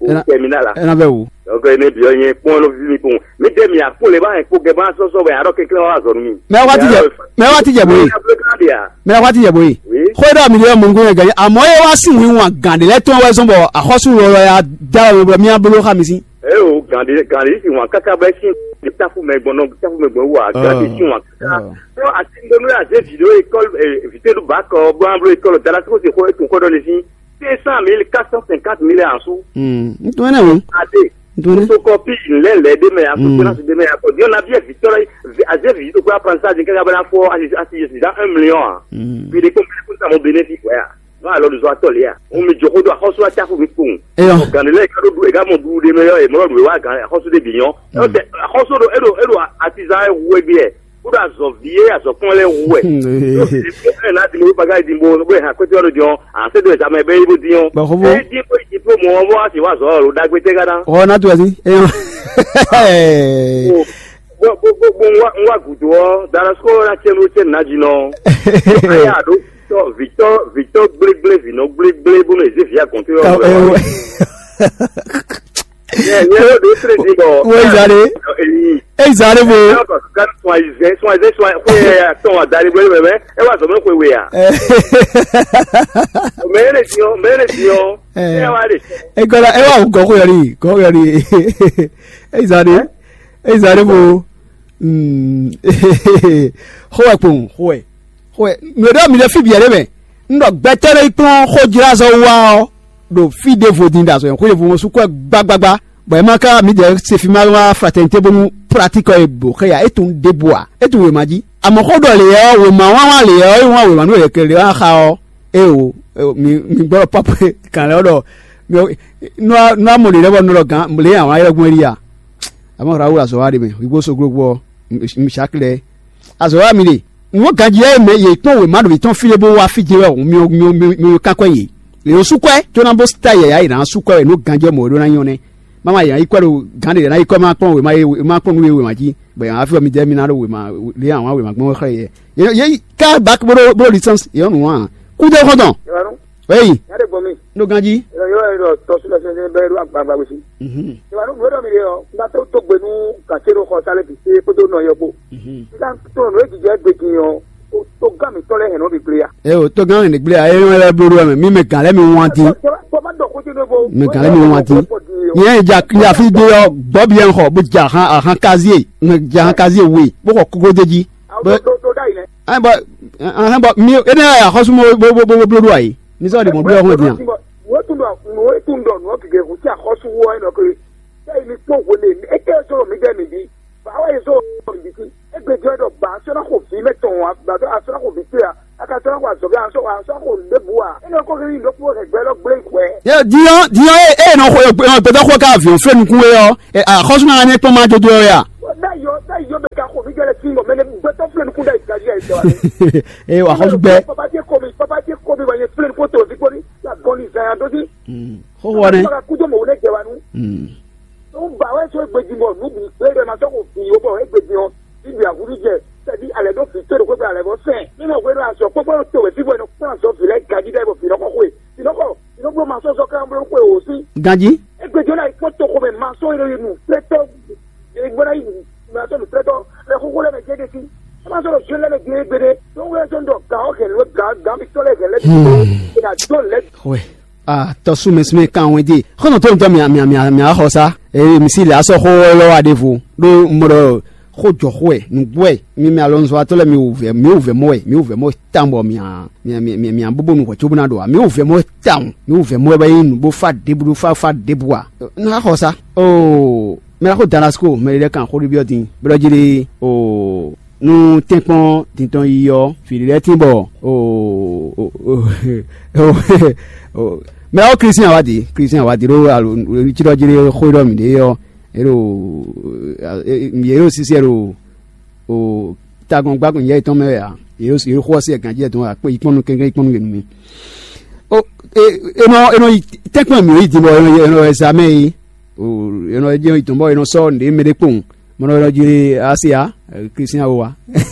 o terminal la. Ena bɛ wo. Donc ne bi ɔnyɛ kpɔn no vi mi kpɔn. Mi de mi akpɔn le ba yɛ kpɔ gɛ ba sɔsɔ bɛ arɔ kekle wá zɔ nú mi. Mɛ wa ti jɛ, mɛ wa ti jɛ boye. Mɛ wa ti jɛ boye. Oui. Xɔ dɔ mi le mɔ ngun gɛ. Amɔ ye wa sin wi wan gan de lɛ tɔn wɛ zɔn bɔ axɔsu lɔlɔ ya da wɛ bɔ mi abolo xa mi sin. Eo gande gande si wan kaka bɛ sin tafu mɛ gbɔn nɔ tafu mɛ gbɔn wa gande si wan kaka. Ɔ asi ndo mi aze video école vite du bac bɔ an blo école dala ko se ko etun ko dɔ ne sin cinq cent mille, quatre cent cinquante mille en sous. N tun ne o. Ade. N tun ne. Photocopie lɛ lɛ de mɛ ya ko finance de mɛ ya ko diɔ na biɛ vitɔ la aze video ko apprentissage kaka bɛ na fɔ asi asi dans un million. Puis de ko ko sa mo bénéfice ouais. Nɔ alɔ ɖo zɔ atɔ lia. Ŋun mi jɔ xó ɖo axɔsu atsaƒu mi kpowun. Eyɔ. Gande lɛ ka ɖo ɖu ega mɔ ɖu ɖe mɛ yɔ emɔ ɖu wa gan axɔsu ɖe bi nyɔ. Ɛyɔ tɛ axɔsu ɖo eɖo eɖo atizan ɛ wu egbe yɛ. Ko ɖo azɔ vi ye azɔ kpɔn lɛ wu wɛ. Ɛ na di mo baga di mo bo ha kpɛtɛ ɖo diɔ ase do examen bɛ ibo diɔ. Ba xɔbɔ. Ɛ di ko diplôme ɔ bɔ asi wa zɔ lo dagbe tɛ gana. Ɔ na tu asi. Eyɔ. Bó bó bó bó ń wá ń wá gùdù ọ́, Darasko ná tiẹ̀ ló tiẹ̀ nà jìnnà. Ayé àdó vitɔ vitɔ vitɔ gblégblé vinɔ gblégblé bó mɛ zé via gɔn tó yɔ. Yɛ yɛ ló dé trédé bɔ. Wọ́n ìzàlẹ̀. Èyí. Ẹ ìzàlẹ̀ bò. Ẹ kọ ká sún àyíṣẹ́ sún àyíṣẹ́ sún àyíṣẹ́ kó yẹ tán àdáni bó yẹ mẹ́mẹ́ ẹ wà sọ̀rọ̀ kó wé ya. Mẹ́rẹ̀ tiọ́ mẹ́rẹ̀ tiọ́. Ẹ wà lè. Ẹ gbọ́dọ̀ ẹ wà wù gọ́kọ̀ yọrí gọ́kọ̀ yọrí. Ẹ ìzàlẹ̀. Ezali bo xowɛ kpowun xowɛ xowɛ mɛ ɖɔ mi ɖe fi biɛ ɖe mɛ n ɖɔ gbɛtɔ ɖe kplɔn xojlazɔ wa ɔ ɖo fi ɖevo din ɖe azɔ xo ɖevo ŋɔ sukɔ gbagbagba bɔn ema ka mi ɖe se fi ma wa fraternité bonu pratique ɔ bo xɛ ya e tun ɖe bo a e tun wema dzi amɔ xo ɖɔ le yɛ ɔ wema wa wa le yɛ ɔ e wa wema nu yɛ kele wa xa ɔ e o mi mi gbɔ pɔpɔ kan lɛ ɔ ɖɔ mi nua nua mɔ le lɛ bɔ nɔ ɖɔ gan le yɛ wa yɛ gbɔn eli ya. Amɔ̌ Rawulu azɔ̌ wa ɖe mɛ, wǐgbó soglogbó ɔ́, Mishaki lɛ́ɛ. Azɔ̌ wa mi ɖe. Nǔ ganjí lɛ́ɛ mɛ yě kpɔ́n wěma ɖo yětɔn fí lé bó wá fí jɛ́n wɛ hǔn myɔ myɔ myɔ myɔ kánkɔ́ yě. Yě nɔ sú kwɛ́ có ná bó tá yɛ̌yá yě ná sú kwɛ́ wɛ nǔ ganjí ɔ́ mɔ̌ é ɖó ná nyɔ́ nɛ́. Má ma yě ná yi kwɛ́ ɖo gǎn ɖě ná yi kwɛ́ má kpɔ́n wěma é má kpɔ́n nú é wěma jí, bɔ yě ná fí ɔ́ mì jɛ mì ná ɖo wěma lě awǎn wěma gbɔn xlɛ́ yɛ. Yě yě ká bak bó ɖó bó ɖó licence yě nɔ nǔ wan. Kúdó xɔ́ntɔn. Eyi. Nya ɖe gbɔn mi. Ɖo ganjí. Yɔ yɔ yɔ tɔsu lɛ fɛn bɛ ɖo agbagba wisi. Ìwà nú gbɛdɔ mi ɖe ɔ, n ka tó tó gbe nú gàtse ɖo xɔ sálẹ bi se kpódó nɔ yɔ kpó. N ka tó nɔ ejijɛ gbe din ɔ, o tó gán mi tɔ lɛ hɛn nɔ bi gble ya. Ɛ o tó gán mi gble ya ɛ yɔ lɛ blo ɖo mɛ mi mɛ gàn lɛ mi wan din. Tɔ ma dɔ kó tsi ɖo bo. Mɛ gàn lɛ mi wan din. Nyɛ ja ja fí gbé ɔ́, gbɔ́ byɔ́ xɔ bó ja ahan ahan kazié, ja ahan kazié we bó xɔ kókó d'é jí. Bó Ɖo ɖo ɖo ɖ'ayǐ nɛ́. Ɛn bɔ ɛn bɔ mi énɛ́ wɛ axɔ́sú mɔ bó bó bó bló ɖó ayǐ. Mi sɔ́ ɖe mɔ̌ bló ɔ́ hɔn din a? Nǔ e tún ɖɔ nǔ e tún ɖɔ nǔ ɔ́ gěgé hǔn sín axɔ́sú wú ɔ́ é nɔ ke. Sɛ́ yi mi kpɔ́n hwenu e étɛ́ zɔ́n mi jɛ mi ɖi. Bǎ wɛ zɔ́n mi ɖi sí. Égbé jɔ ɖɔ bǎ sɔ́ ná xo vǐ mɛ tɔn ǎ, bǎ sɔ́ ná xo vǐ towe ǎ. A ka sɔ́ ná xo azɔ̌ a sɔ́ a sɔ́ xo nǔɖé bǔ ǎ. É nɔ ko hɛn nyi ɖokpó hɛgbɛ lɔ gblé hwɛ. Yɛ diɔ diɔ e e nɔ xɔ gbɛdɔ xɔ ka avion fɛ nukun we ɔ, axɔsu na ne kpɔn ma jodo ɔ ya. Bɛ yɔ bɛ yɔ bɛ ka xɔ mi jɛ lɛ sin bɔ mɛ ne gbɛtɔ filɛ nukun da yi gaji ayi sɔ. Ee wa xɔsu gbɛ. Papa tie ko mi papa tie ko mi wa ye filɛ nukun to fi ko ni la gɔn ni zan ya do si. Xɔxɔ ne. Ka kudo mo ne jɛ wa nu. Tó ń bà wá sọ égbèjì bọ̀ nù bí gbé rẹ̀ máa sọ́kò fi yóò bọ̀ égbèjì ọ̀ níbi àwùjọ jẹ tẹ̀bí alẹ́ ló fi tó ìdókòwò alẹ́ bọ́ sẹ́ẹ̀. Nínú ìwé náà sọ pé bọ́lá tó wẹ̀ fífọ́ ẹni kúrò sọ fìlẹ́ gàdí dẹ́ bọ̀ fìlọ́kọ̀ kúrò. Fìlọ́kọ̀ fìlọ́kọ̀ máa sọ sọ káwọn bọ́lá kúrò wò sí. Ganji. Égbèjì náà ikpó tó kó mẹ́ máa sọ ìròyìn nù pẹ́tọ́ ìgbóná yìí máa sọ nù pẹ́tọ́ lẹ́ kókó lẹ́mẹ̀ jẹ́ dé sí. Ẹ máa sọ̀rọ̀ sọ lẹ́mẹ̀ jẹ́ gbére. Tó ń wúlẹ̀ sọ ń dọ̀ gà ọ́ kẹ̀ ló gà gà mi tọ́lẹ̀ kẹ̀ lẹ́bi. Ìdájọ́ lẹ́bi. Wɛ. Ah, tɔ súnmɛ súnmɛ kan wɛn dé. Xɔnɔ tó ntɔ mia mia mia mia xɔ sa. Ee, misi le asɔ xɔ lɔ wa ɖevo. Ɖo mɔɖɔ xɔ jɔ xɔ ɛ, nugbo ɛ. Mi mi alɔ nzɔ atɔ lɛ mi wò vɛ mi wò vɛ mɔ ɛ mi wò vɛ mɔ ɛ tan bɔ mia mia mia mia mia bobo nu xɔ tso bena ɖo a mi wò vɛ mɔ ɛ tan mi wò vɛ mɔ ɛ bɛ yi nu bo fa debu do fa fa debu a. Na xɔ sa. Oo, mɛ la xɔ Damasco mɛ ɖe kan xɔ ɖe biɔ din. Bɛ ɖɔ ji ɖe. Oo. Nú tɛ́nkpɔ́n dintɔn yiyi ɔ́, vǐ ɖé lɛ́ɛ tín bɔ mɛ ɔ́ Klísián wá dǐ, Klísián wá dǐ ɖó alo cí ɖɔ jí ɖé xó ɖɔ mǐ ɖe ɔ́, é ɖo yě ɖo sísí ɛ ɖo tagbɔn gbákun yɛ yětɔn mɛ wɛ ǎ. Yě ɖo xó ɔ́ sí ɛ gǎn jí ɛ tɔn wɛ akpé yi kpɔ́n nú kɛnklɛ́n yi kpɔ́n nú yě nú mì. Ó, é é nɔ é nɔ yi tɛ́nkpɔ́n mǐ yi din bɔ é nɔ é nɔ wɛ zamɛ é. Ó, é nɔ é jɛ yi tɔn bɔ é nɔ sɔ́ nǔɖé mɛ ɖé kpowun. Mɔnɔ ɔ́ jí Asia Kristian ó wa.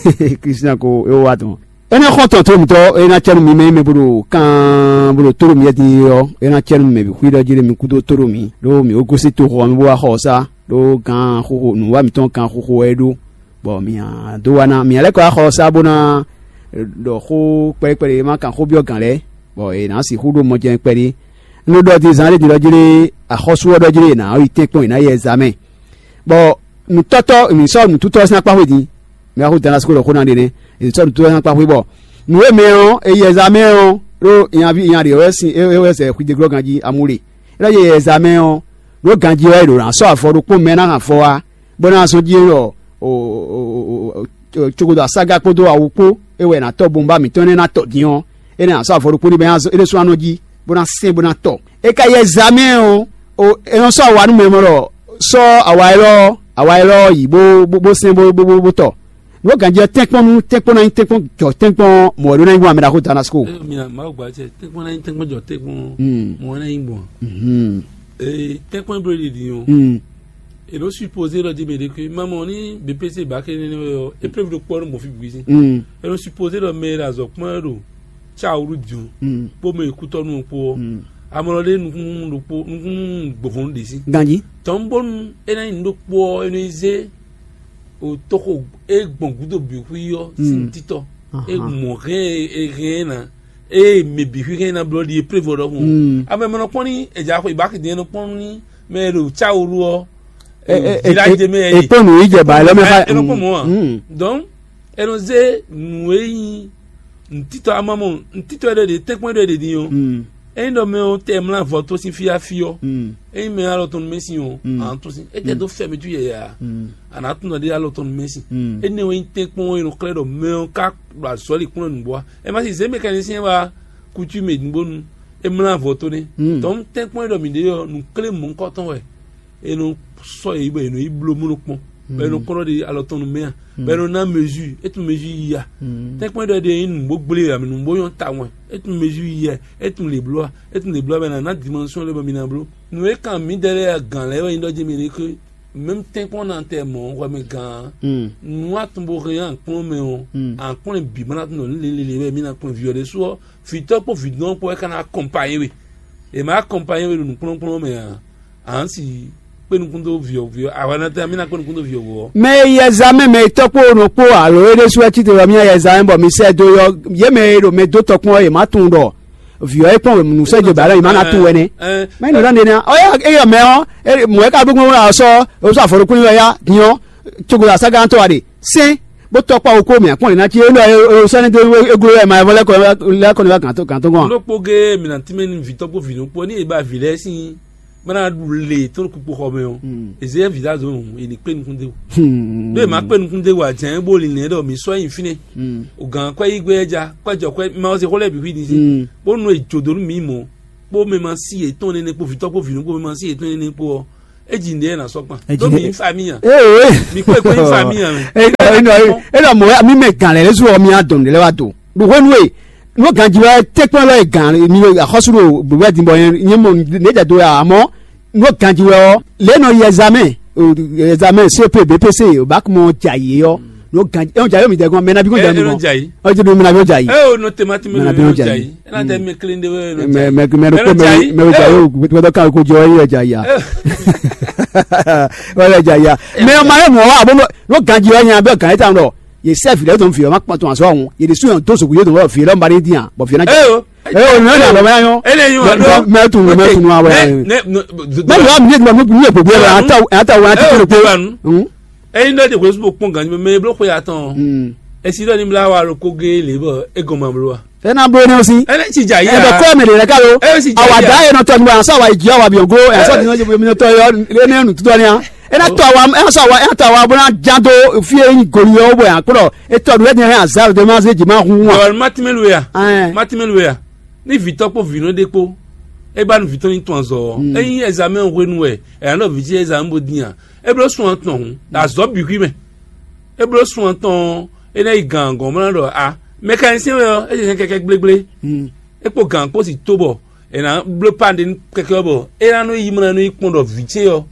Kristian ko é ó wa tɔn. Énɛ́ xɔ́ntɔn tó mǐtɔn é ná cɛ́ nú mi mɛ nyí mɛ bó ɖo kan bó ɖo tóɖo mi yɛ́ din ɔ́, é ná cɛ́ nú mɛ bǐ xwí ɖɔ jí ɖé mi kúdó tóɖo mi, ɖó mǐ ó gosín toxo ɔ́ mɛ bó wá xɔ ɔ́ sá, ɖó gan xóxó nǔwá mǐtɔn kan xóxó wɛ é ɖó, bɔ mǐ dó wá ná mǐ lɛ́ kɔ wá xɔ ɔ́ sá bó ná ɖɔ xó kpɛɖé kpɛɖé e ma kan xó byɔ́ gǎn lɛ́ɛ, bɔ è nǎ sixú ɖó mɔjɛ́n kpɛɖé. Un ɖo ɖɔ din zán ɖé din ɖɔ jí ɖé axɔ́sú ɔ́ ɖɔ jí ɖé è nǎ yi tɛ́nkpɔ́n è nǎ yi ɛzamɛ. Bɔ nǔtɔ́tɔ́ mǐ sɔ́ nǔtútɔ́ ɔ́ sín akpá xwé din. Mɛ xó dan lásìkò ɖɔ xó ná ɖe nɛ́. È sɔ́ nǔtútɔ́ ɔ́ sín akpá xwé bɔ nǔ e mɛ ɔ́, è yi ɛzamɛ ɔ́ ɖó nyaví nyaɖě wɛ sin é wɛ zɛ xwidéglɔ́ ganjí amú ɖe. É ɖɔ yě yi ɛzamɛ ɔ́, ɖó ganjí wɛ è ɖǒ ná sɔ́ avɔ ɖokpó mɛ ná hɛn avɔ wá, bó ná zɔ́n jí ɖɔ cogodo asága kpódó awu kpó é wɛ è nǎ tɔ bomba mǐtɔn énɛ́ ná tɔ din ɔ́, é ná sɔ́ avɔ ɖokpó ní bɔ é ná zɔ́n é ɖésú ná nɔ jí, bó ná sɛn bó ná tɔ. É ka yi ɛzamɛ ɔ́, é nɔ sɔ́ awa nú mɛ mɔ ɖɔ sɔ́ awa élɔ́ awa élɔ́ yi bó bó sɛn bó bó bó tɔ. Nǔ ganjí ɔ́ tɛ́nkpɔ́n nú tɛ́nkpɔ́n ná nyí tɛ́nkpɔ́n jɔ tɛ́nkpɔ́n mɔ̌ ɖó ná nyí gbɔn amɛ ɖaxó Damasko. Mina mawu gba cɛ tɛ́nkpɔ́n ná nyí tɛ́nkpɔ́n jɔ tɛ́nkpɔ́n mɔ̌ ná nyí gbɔn. Ee tɛ́nkpɔ́n bló ɖiɖi ɔ́. E nɔ supposé ɖɔ di mɛ ɖe ke mamɔ ní B P C ba ke nɛnɛ wɛ ɔ́, épreuve ɖo kpɔ nú mɔfi bugui sín. E nɔ supposé ɖɔ mɛ e ɖo azɔ kpɔn wɛ ɖo tsa wúru diɔn kpó mɛ e kútɔ́ nú ɔ́ kpó ɔ́, amɔ ɖe nukún ɖokpó nukún gbɔvɔn ɖe sí. Ganji. Tɔn bónú é ná nyí nǔ ɖokpó ɔ́, é nɔ yi zé o toxo e gbɔn gúdo bǐ xwí ɔ́ sín títɔ. E mɔ hɛn e hɛn ná eye mɛ bǐ xwíxwɛ́ ná blɔ́ ɖi épreuve ɖɔhun. Ame mɛ nɔ kpɔn ní èdza xɔ ìbáxi dín nɔ kpɔn ní mɛ e ɖo cáwolu ɔ́. Village de mɛ e kpɔn nǔ yi jɛ ba lɔ mɛ xa. E nɔ kpɔn mɔ wa. Donc e nɔ zé nǔ e nyí ntítɔ amamɔ ntítɔ ɖe ɖe tɛ́nkpɔ́n ɖe ɖe din ɔ́. Ényí ɖɔ mɛ ɔ́ tɛ mlá vɔ tó sín fíáfí ɔ́, ényí mɛ alɔ tɔn nú mɛ sin ɔ́, a nǎ tún sín. É tɛ dó fɛ́ mɛ tú yɛyɛ a? A nǎ tún nɔ ɖe alɔ tɔn nú mɛ sin. Énɛ́ wɛ nyí tɛ́nkpɔ́n e nɔ xlɛ́ ɖɔ mɛ ɔ́ ká ɖo azɔ̌ li kplɔ́n nǔgbó wa. Ɛ má si zě mécanicien wá coutume nǔgbónu é mlá avɔ tó nɛ́. Tɔ̌ tɛ́nkpɔ́n e ɖɔ mǐ ɖe ɔ́, nǔ klé mɔ̌hunkɔtɔn wɛ. È nɔ sɔ́ yě bɔ è nɔ yi bló mú nukpɔ́n, bɔ è nɔ kɔn ɖɔ ɖe alɔ tɔn nú mɛ a, bɔ è nɔ ná mesure, é tún mesure yi a. Tɛ́nkpɔ́n e ɖɔ ɖe nyí nǔgbó gblé a, mǐ nǔgbó nyɔ́ tawun wɛ, é tún mesure yi a, é tún lě bló a, é tún lě bló a, bɔ è nǎ ná dimension lɛ́ɛ bɔ mi ná bló. Nǔ e kan mǐ dɛ lɛ́ɛ a gǎn lɛ́ɛ wɛ nyí ɖɔ jí mǐ ɖe xwé. Mɛm tɛ́nkpɔ́n na tɛ mɔ̌ hwɛ mɛ gǎn. Nǔ atún bó hɛn ankplɔ́n mɛ ɔ́, ankplɔ́n bǐ ma ná tún ɖɔ nú lělélé wɛ mí ná kplɔ́n vǐ ɔ́ ɖésú ɔ́, vǐtɔ́ kpó vǐdɔn kpó wɛ ka ná akɔnpanyé we. È ma akɔnpanyé we ɖo nǔkplɔ́nkplɔ́n mɛ ǎ, ǎ si kpé nukún dó vǐ ɔ́ vǐ ɔ́, ahwanatɛn mí ná kpé nukún dó vǐ ɔ́ wú ɔ́. Mɛ e yi ɛzamɛ mɛ tɔ́ kpó nɔ kpó alo é ɖésú wɛ títí wɛ mí yi ɛzamɛ bɔ mi sɛ dó yɔ yě mɛ e ɖo mɛ dó tɔkpɔn ɔ́, yě má tunwun ɖɔ Vǐ ɔ́ é kpɔ́n wěmunu sɛ́ je bǎ lɔ yi má ná tunwun wɛ nɛ́. Mɛ nɔ ɖɔ nɛ́ ɔ́, éyɔ mɛ ɔ́, mɔ̌ é ka ɖó gbɔn wá sɔ́, ó sɔ́ afɔ ɖokpó nyi wɛ yá din ɔ́, cógo asá gán tɔ́ wa ɖe sɛ́n bó tɔ́ kpá wokpó mɛ akpɔ́n lě ná cí é nɔ é sɔ́ ní dó égló wɛ ma vɔ lɛ́ kɔ lɛ́ kɔ ní wá gǎn tó gǎn tó gɔ́n. Nú kpó gé mǐ ná tínmɛ nú vǐ tɔ́ kpó vǐ nukpó ní è ba vǐ lɛ́ɛ sín bó ná ɖu le tó ɖo kpukpo xɔ mɛ ɔ́, ezéyɛ́ vǐ ɖo azɔ̌ nǔ è ní kpé nukún dé wú. Ɖó è ma kpé nukún dé wú ǎ, jɛ̌n bó linlɛn ɖɔ mǐ sɔ́ nyi fínɛ́. O gǎn kwɛ́ yí gbé wɛ ja, kwɛ́ jɔ kwɛ́ ma ɔ́ se xó lɛ́ɛ bǐ xwí din sín bó nú è jǒ dó nú mǐ mɔ̌, kpó mɛ ma sí yětɔn nɛnɛ kpó vǐtɔ́ kpó vǐnú kpó mɛ ma sí yětɔn nɛnɛ kpó ɔ́, é ji nǔɖé ná sɔ́ kpan. Ɖó mǐ nyí famille ǎ. Mǐ kpé kpé nyí famille ǎ mɛ. Énɔ mɔ wɛ mi mɛ gǎn lɛ́ɛ lɛ́ɛ sú ɔ́ mi á dɔn nǔɖé lɛ́ɛ wá do. Ɖo hwenu e nú ganjí wɛ tɛ́nkpɔ́n lɔ e gǎn mi axɔ́sú ɖo gběgbé din bɔ nyɛ mɔ nǔ jɛ do ya amɔ́ nú ganjí wɛ ɔ́ lě nɔ yi ɛzamɛ ɛzamɛ C P B P C o bak mɔ jɛ ayǐ ɔ́ nú ganjí ɛn jɛ ayǐ mi dɛ gɔn mɛ nabi gɔn jɛ mi gɔn ɔjɛ do mɛ nabi gɔn jɛ ayǐ. Ɛ o nɔ tɛmati mɛ Mɛ nabi nɔ jɛ ayǐ. Ɛ na tɛ mɛ kelen de wɛ nɔ jɛ mɛ ayǐ. Mɛ mɛ ko mɛ mɛ jɛ ayǐ o gbɛdɔ kan ko jɔ yɛ jɛ ayǐ ya wɛ jɛ ayǐ ya mɛ ɔmɔ ayé mɔ wa abo nɔ ganjí wɛ nya bɛ gan eta nɔ ye sɛ vi lɛ dɔn vi ma kpɔn tɔn azɔ ɔhun ye de su yɔn do sogo ye dɔn vɔ vi lɛ mba de diyan bɔ vi na jɛ. Ɛ o nɔ yɛ lɔ mɛ yɔ Ele yi wa dɔ. Mɛ tun mɛ tun wa wɛ. Mɛ yɔ mi ne tun mi ye gbogbo yɛ ata ata wa ti ko ko. Eyi ndɔ de ko supo kpɔn ganji mɛ eblo ko ya tɔn. Esi dɔ ni bla wa lo ko ge le bɔ e gɔn ma blo wa. Ena blo ne osi. Ele ti ja yi. Ebe kɔ mɛ de lɛ ka lo. Awa da ye nɔ tɔ ni wa sa wa yi ji awa bi ogo. Esa ti nɔ je mi nɔ tɔ yɔ le ne nu tutɔ ni a. Ena tɔ awa ena sa wa ena tɔ awa bó ná já dó fí e nyí goli yɔ bɔ yàn kplɔ. Etɔ ɖu ɛdini hɛn azar de ma se dzi ma hun wa. Ɔwɔ matimɛlu ya. Matimɛlu ya. Ni vitɔ kpó vinɔ ɖe kpó. E ba nu vitɔ ni tɔn azɔ. Eyin ɛzamɛ hwenu wɛ ɛyà nɔ viti ɛzamɛ bó din a. E bló sun atɔn hun. Azɔ bixwi mɛ. E bló sun atɔn. E na yi gan gɔn mɔ na ɖɔ a. Mɛkanisiyɛn wɛ ɔ e jɛ kɛkɛ gblégbé. E kpó gan kpó si tó bɔ e na bló pan ɖe nú kɛkɛ ɔ́ bɔ e na nɔ yi mɔ na nɔ yi kpɔn ɖɔ vǐ ce ɔ́.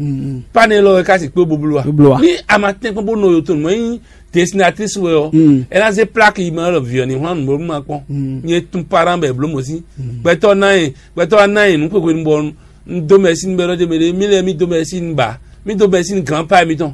Pan élɔ́ wɛ ka si kpé boblo a. Ni a ma tɛ́n kpɔ́n bó nɔ yotonu mɔ nyí destinatrice wɛ ɔ́, e na zé plaki yi mɔ na ɖɔ vǐ ɔ́ ní hwlán nǔ bó ma kpɔn. Nyɛ tun paran bɛ bló mɔ sí. Gbɛtɔ́ ná yɛ gbɛtɔ́ ná yɛ nǔ xwexwe nu bɔ un dó mɛ sín bɛ ɖɔ jɛ mɛ ɖé mí lɛ́ɛ mí dó mɛ sín ba mí dó mɛ sín granpa mitɔn.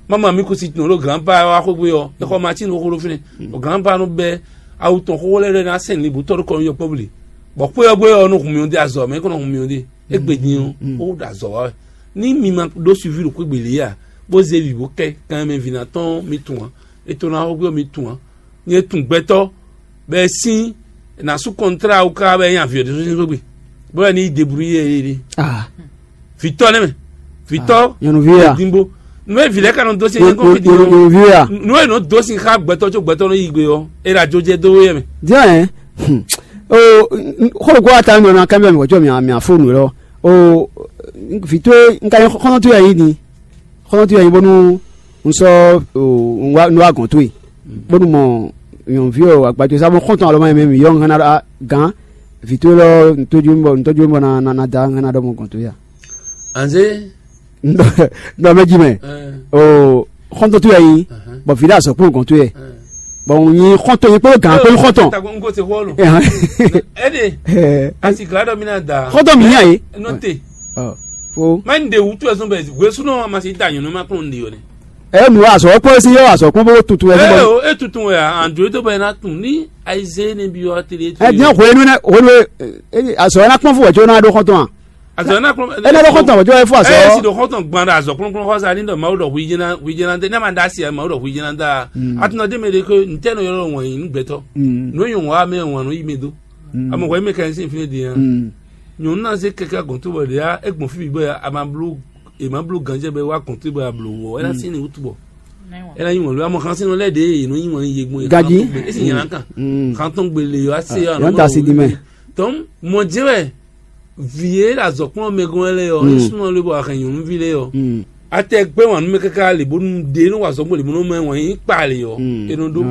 Mama mi kusi tun ɖo granpa wa xwegbe ɔ exɔ ma tin xóxó ɖo fínɛ. O granpa nɔ bɛ awu tɔn xóxó lɛ́ɛ ɖɔ ná sɛn libu tɔ́ ɖo kɔn yɔ pɔbli. Bɔ xwé ɔ́ gbé ɔ́ nɔ hun mi ɔ́ dé azɔ mɛ kɔnɔ hun mi ɔ́ dé. Egbe din ɔ́ ó ɖo azɔ wa wɛ. Ní mi ma ɖó suivi ɖo xwegbe lě a bó zé vi bó kɛ kan mɛ vǐ ná tɔn mi tun ǎ. Etɔn ná xóxó mi tun ǎ. Nyɛ tun gbɛtɔ́ bɛ sín nǎ sú kɔntrá wú ká bɛ nyí avǐ ɔ́ ɖésú sín xwé gbe bó wɛ ní yi debrouiller yɛ yé ɖe. Vǐtɔ́ nɛ́ mɛ vǐtɔ́ nyɔnuví ya. Dínbó nú e vǐ lɛ́ɛ ka nɔ dó sín nyɛ kɔn fi dín nyɔnuví ya. Nú e nɔ dó sín xá gbɛtɔ́ có gbɛtɔ́ nɔ yi gbe ɔ́ é ɖo ajó jɛ dó wé yɛ mɛ. Díẹ̀ ɛ o xó ɖokpó ata nɔ na kábíyà mi wɔ có mi afó nǔ lɔ o vǐtɔ́ nka xɔ́nɔtɔ́ yɛ yí ni xɔ́ntɔn towe wɛ nyí bónú un sɔ́ un wá un wá gɔ̌n towe bónú mɔ nyɔ̌nuví ɔ́ agbadó sá bó xɔ́ntɔn alɔ mɛ mɛ mǐ yɔ un hɛn ná ɖɔ gǎn vǐ towe lɔ un tójú bɔ un tɔ́jú bɔ ná ná da un hɛn ná ɖɔ mɔ gɔ̌n towe a. Anze Nɔ mɛ ji mɛ o xɔ́ntɔn towe wɛ nyí bɔ vǐ ɖé azɔ̌ kpɔ́n gɔ̌n towe wɛ bɔ un nyi xɔ́ntɔn nyi kpódó gǎn kpó nyí xɔ́ntɔn. Tago un ko se xɔ lo. Ɛhɛn. Ɛdi Ɛɛ, asi gla dɔ mi na da. Xɔ́ntɔn mi nya ye. Nɔ te. Ɔ, fo. Ma n de wutu ɛsɔn bɛ wesunu ma si da nyɔnu ma kplɔn n de yɔ ne. Ɛ nu azɔ kpɔ esi yɔ azɔ kpɔ bó tutu ɛsɔn Ee bɔ. O e tuntun wɛ a an jo to bɛ na tun ni ayize ne bi yɔ atelier to. Ɛ diɲɛ hwenu ne hwenu e azɔ na kpɔn fún wɛ tso na ɖo xɔtɔn a. Azɔ na kplɔn. Ɛ na ɖo xɔtɔn wɛ tso ɛ fún azɔ. Ɛ si ɖo xɔtɔn gban ɖo azɔ kplɔnkplɔn xɔ sa ni ɖɔ mawu ɖɔ hu yi jɛna hu yi jɛna de ne ma da asi mawu ɖɔ hu yi jɛna da. Atunɔ de mɛ de ko ntɛ nɔ yɔrɔ wɔn yi nu gbɛtɔ. Nɔ yi wɔn wa mɛ wɔn nɔ yi mɛ do. Amɔ hwɛ mɛ kan sin fi ne de ya. Nyɔnu na se kɛkɛ gɔn to bɔ de ya e gbɔn fi bi bɔ ya a ma blo e ma blo ganjɛ bɛ wa gɔn to bɔ ya blo wɔ e na sin ni wutu bɔ. E na yi wɔn lo amɔ xan sin nɔ lɛ de e nɔ yi wɔn ye gbɔn ye. Gaji. E si nyana kan. Xan tɔn gbele yɔ ase ya. Yɔn ta si di mɛ. Tɔn mɔ jɛ wɛ vi ye la zɔ kplɔn mɛ gɔn lɛ yɔ e sunɔ le bɔ a hɛn nyɔnuvi lɛ yɔ. Atɛ gbɛ wan numɛ kaka le bonu de no wa zɔgbo le bonu mɛ wan yi kpa le yɔ. Eno do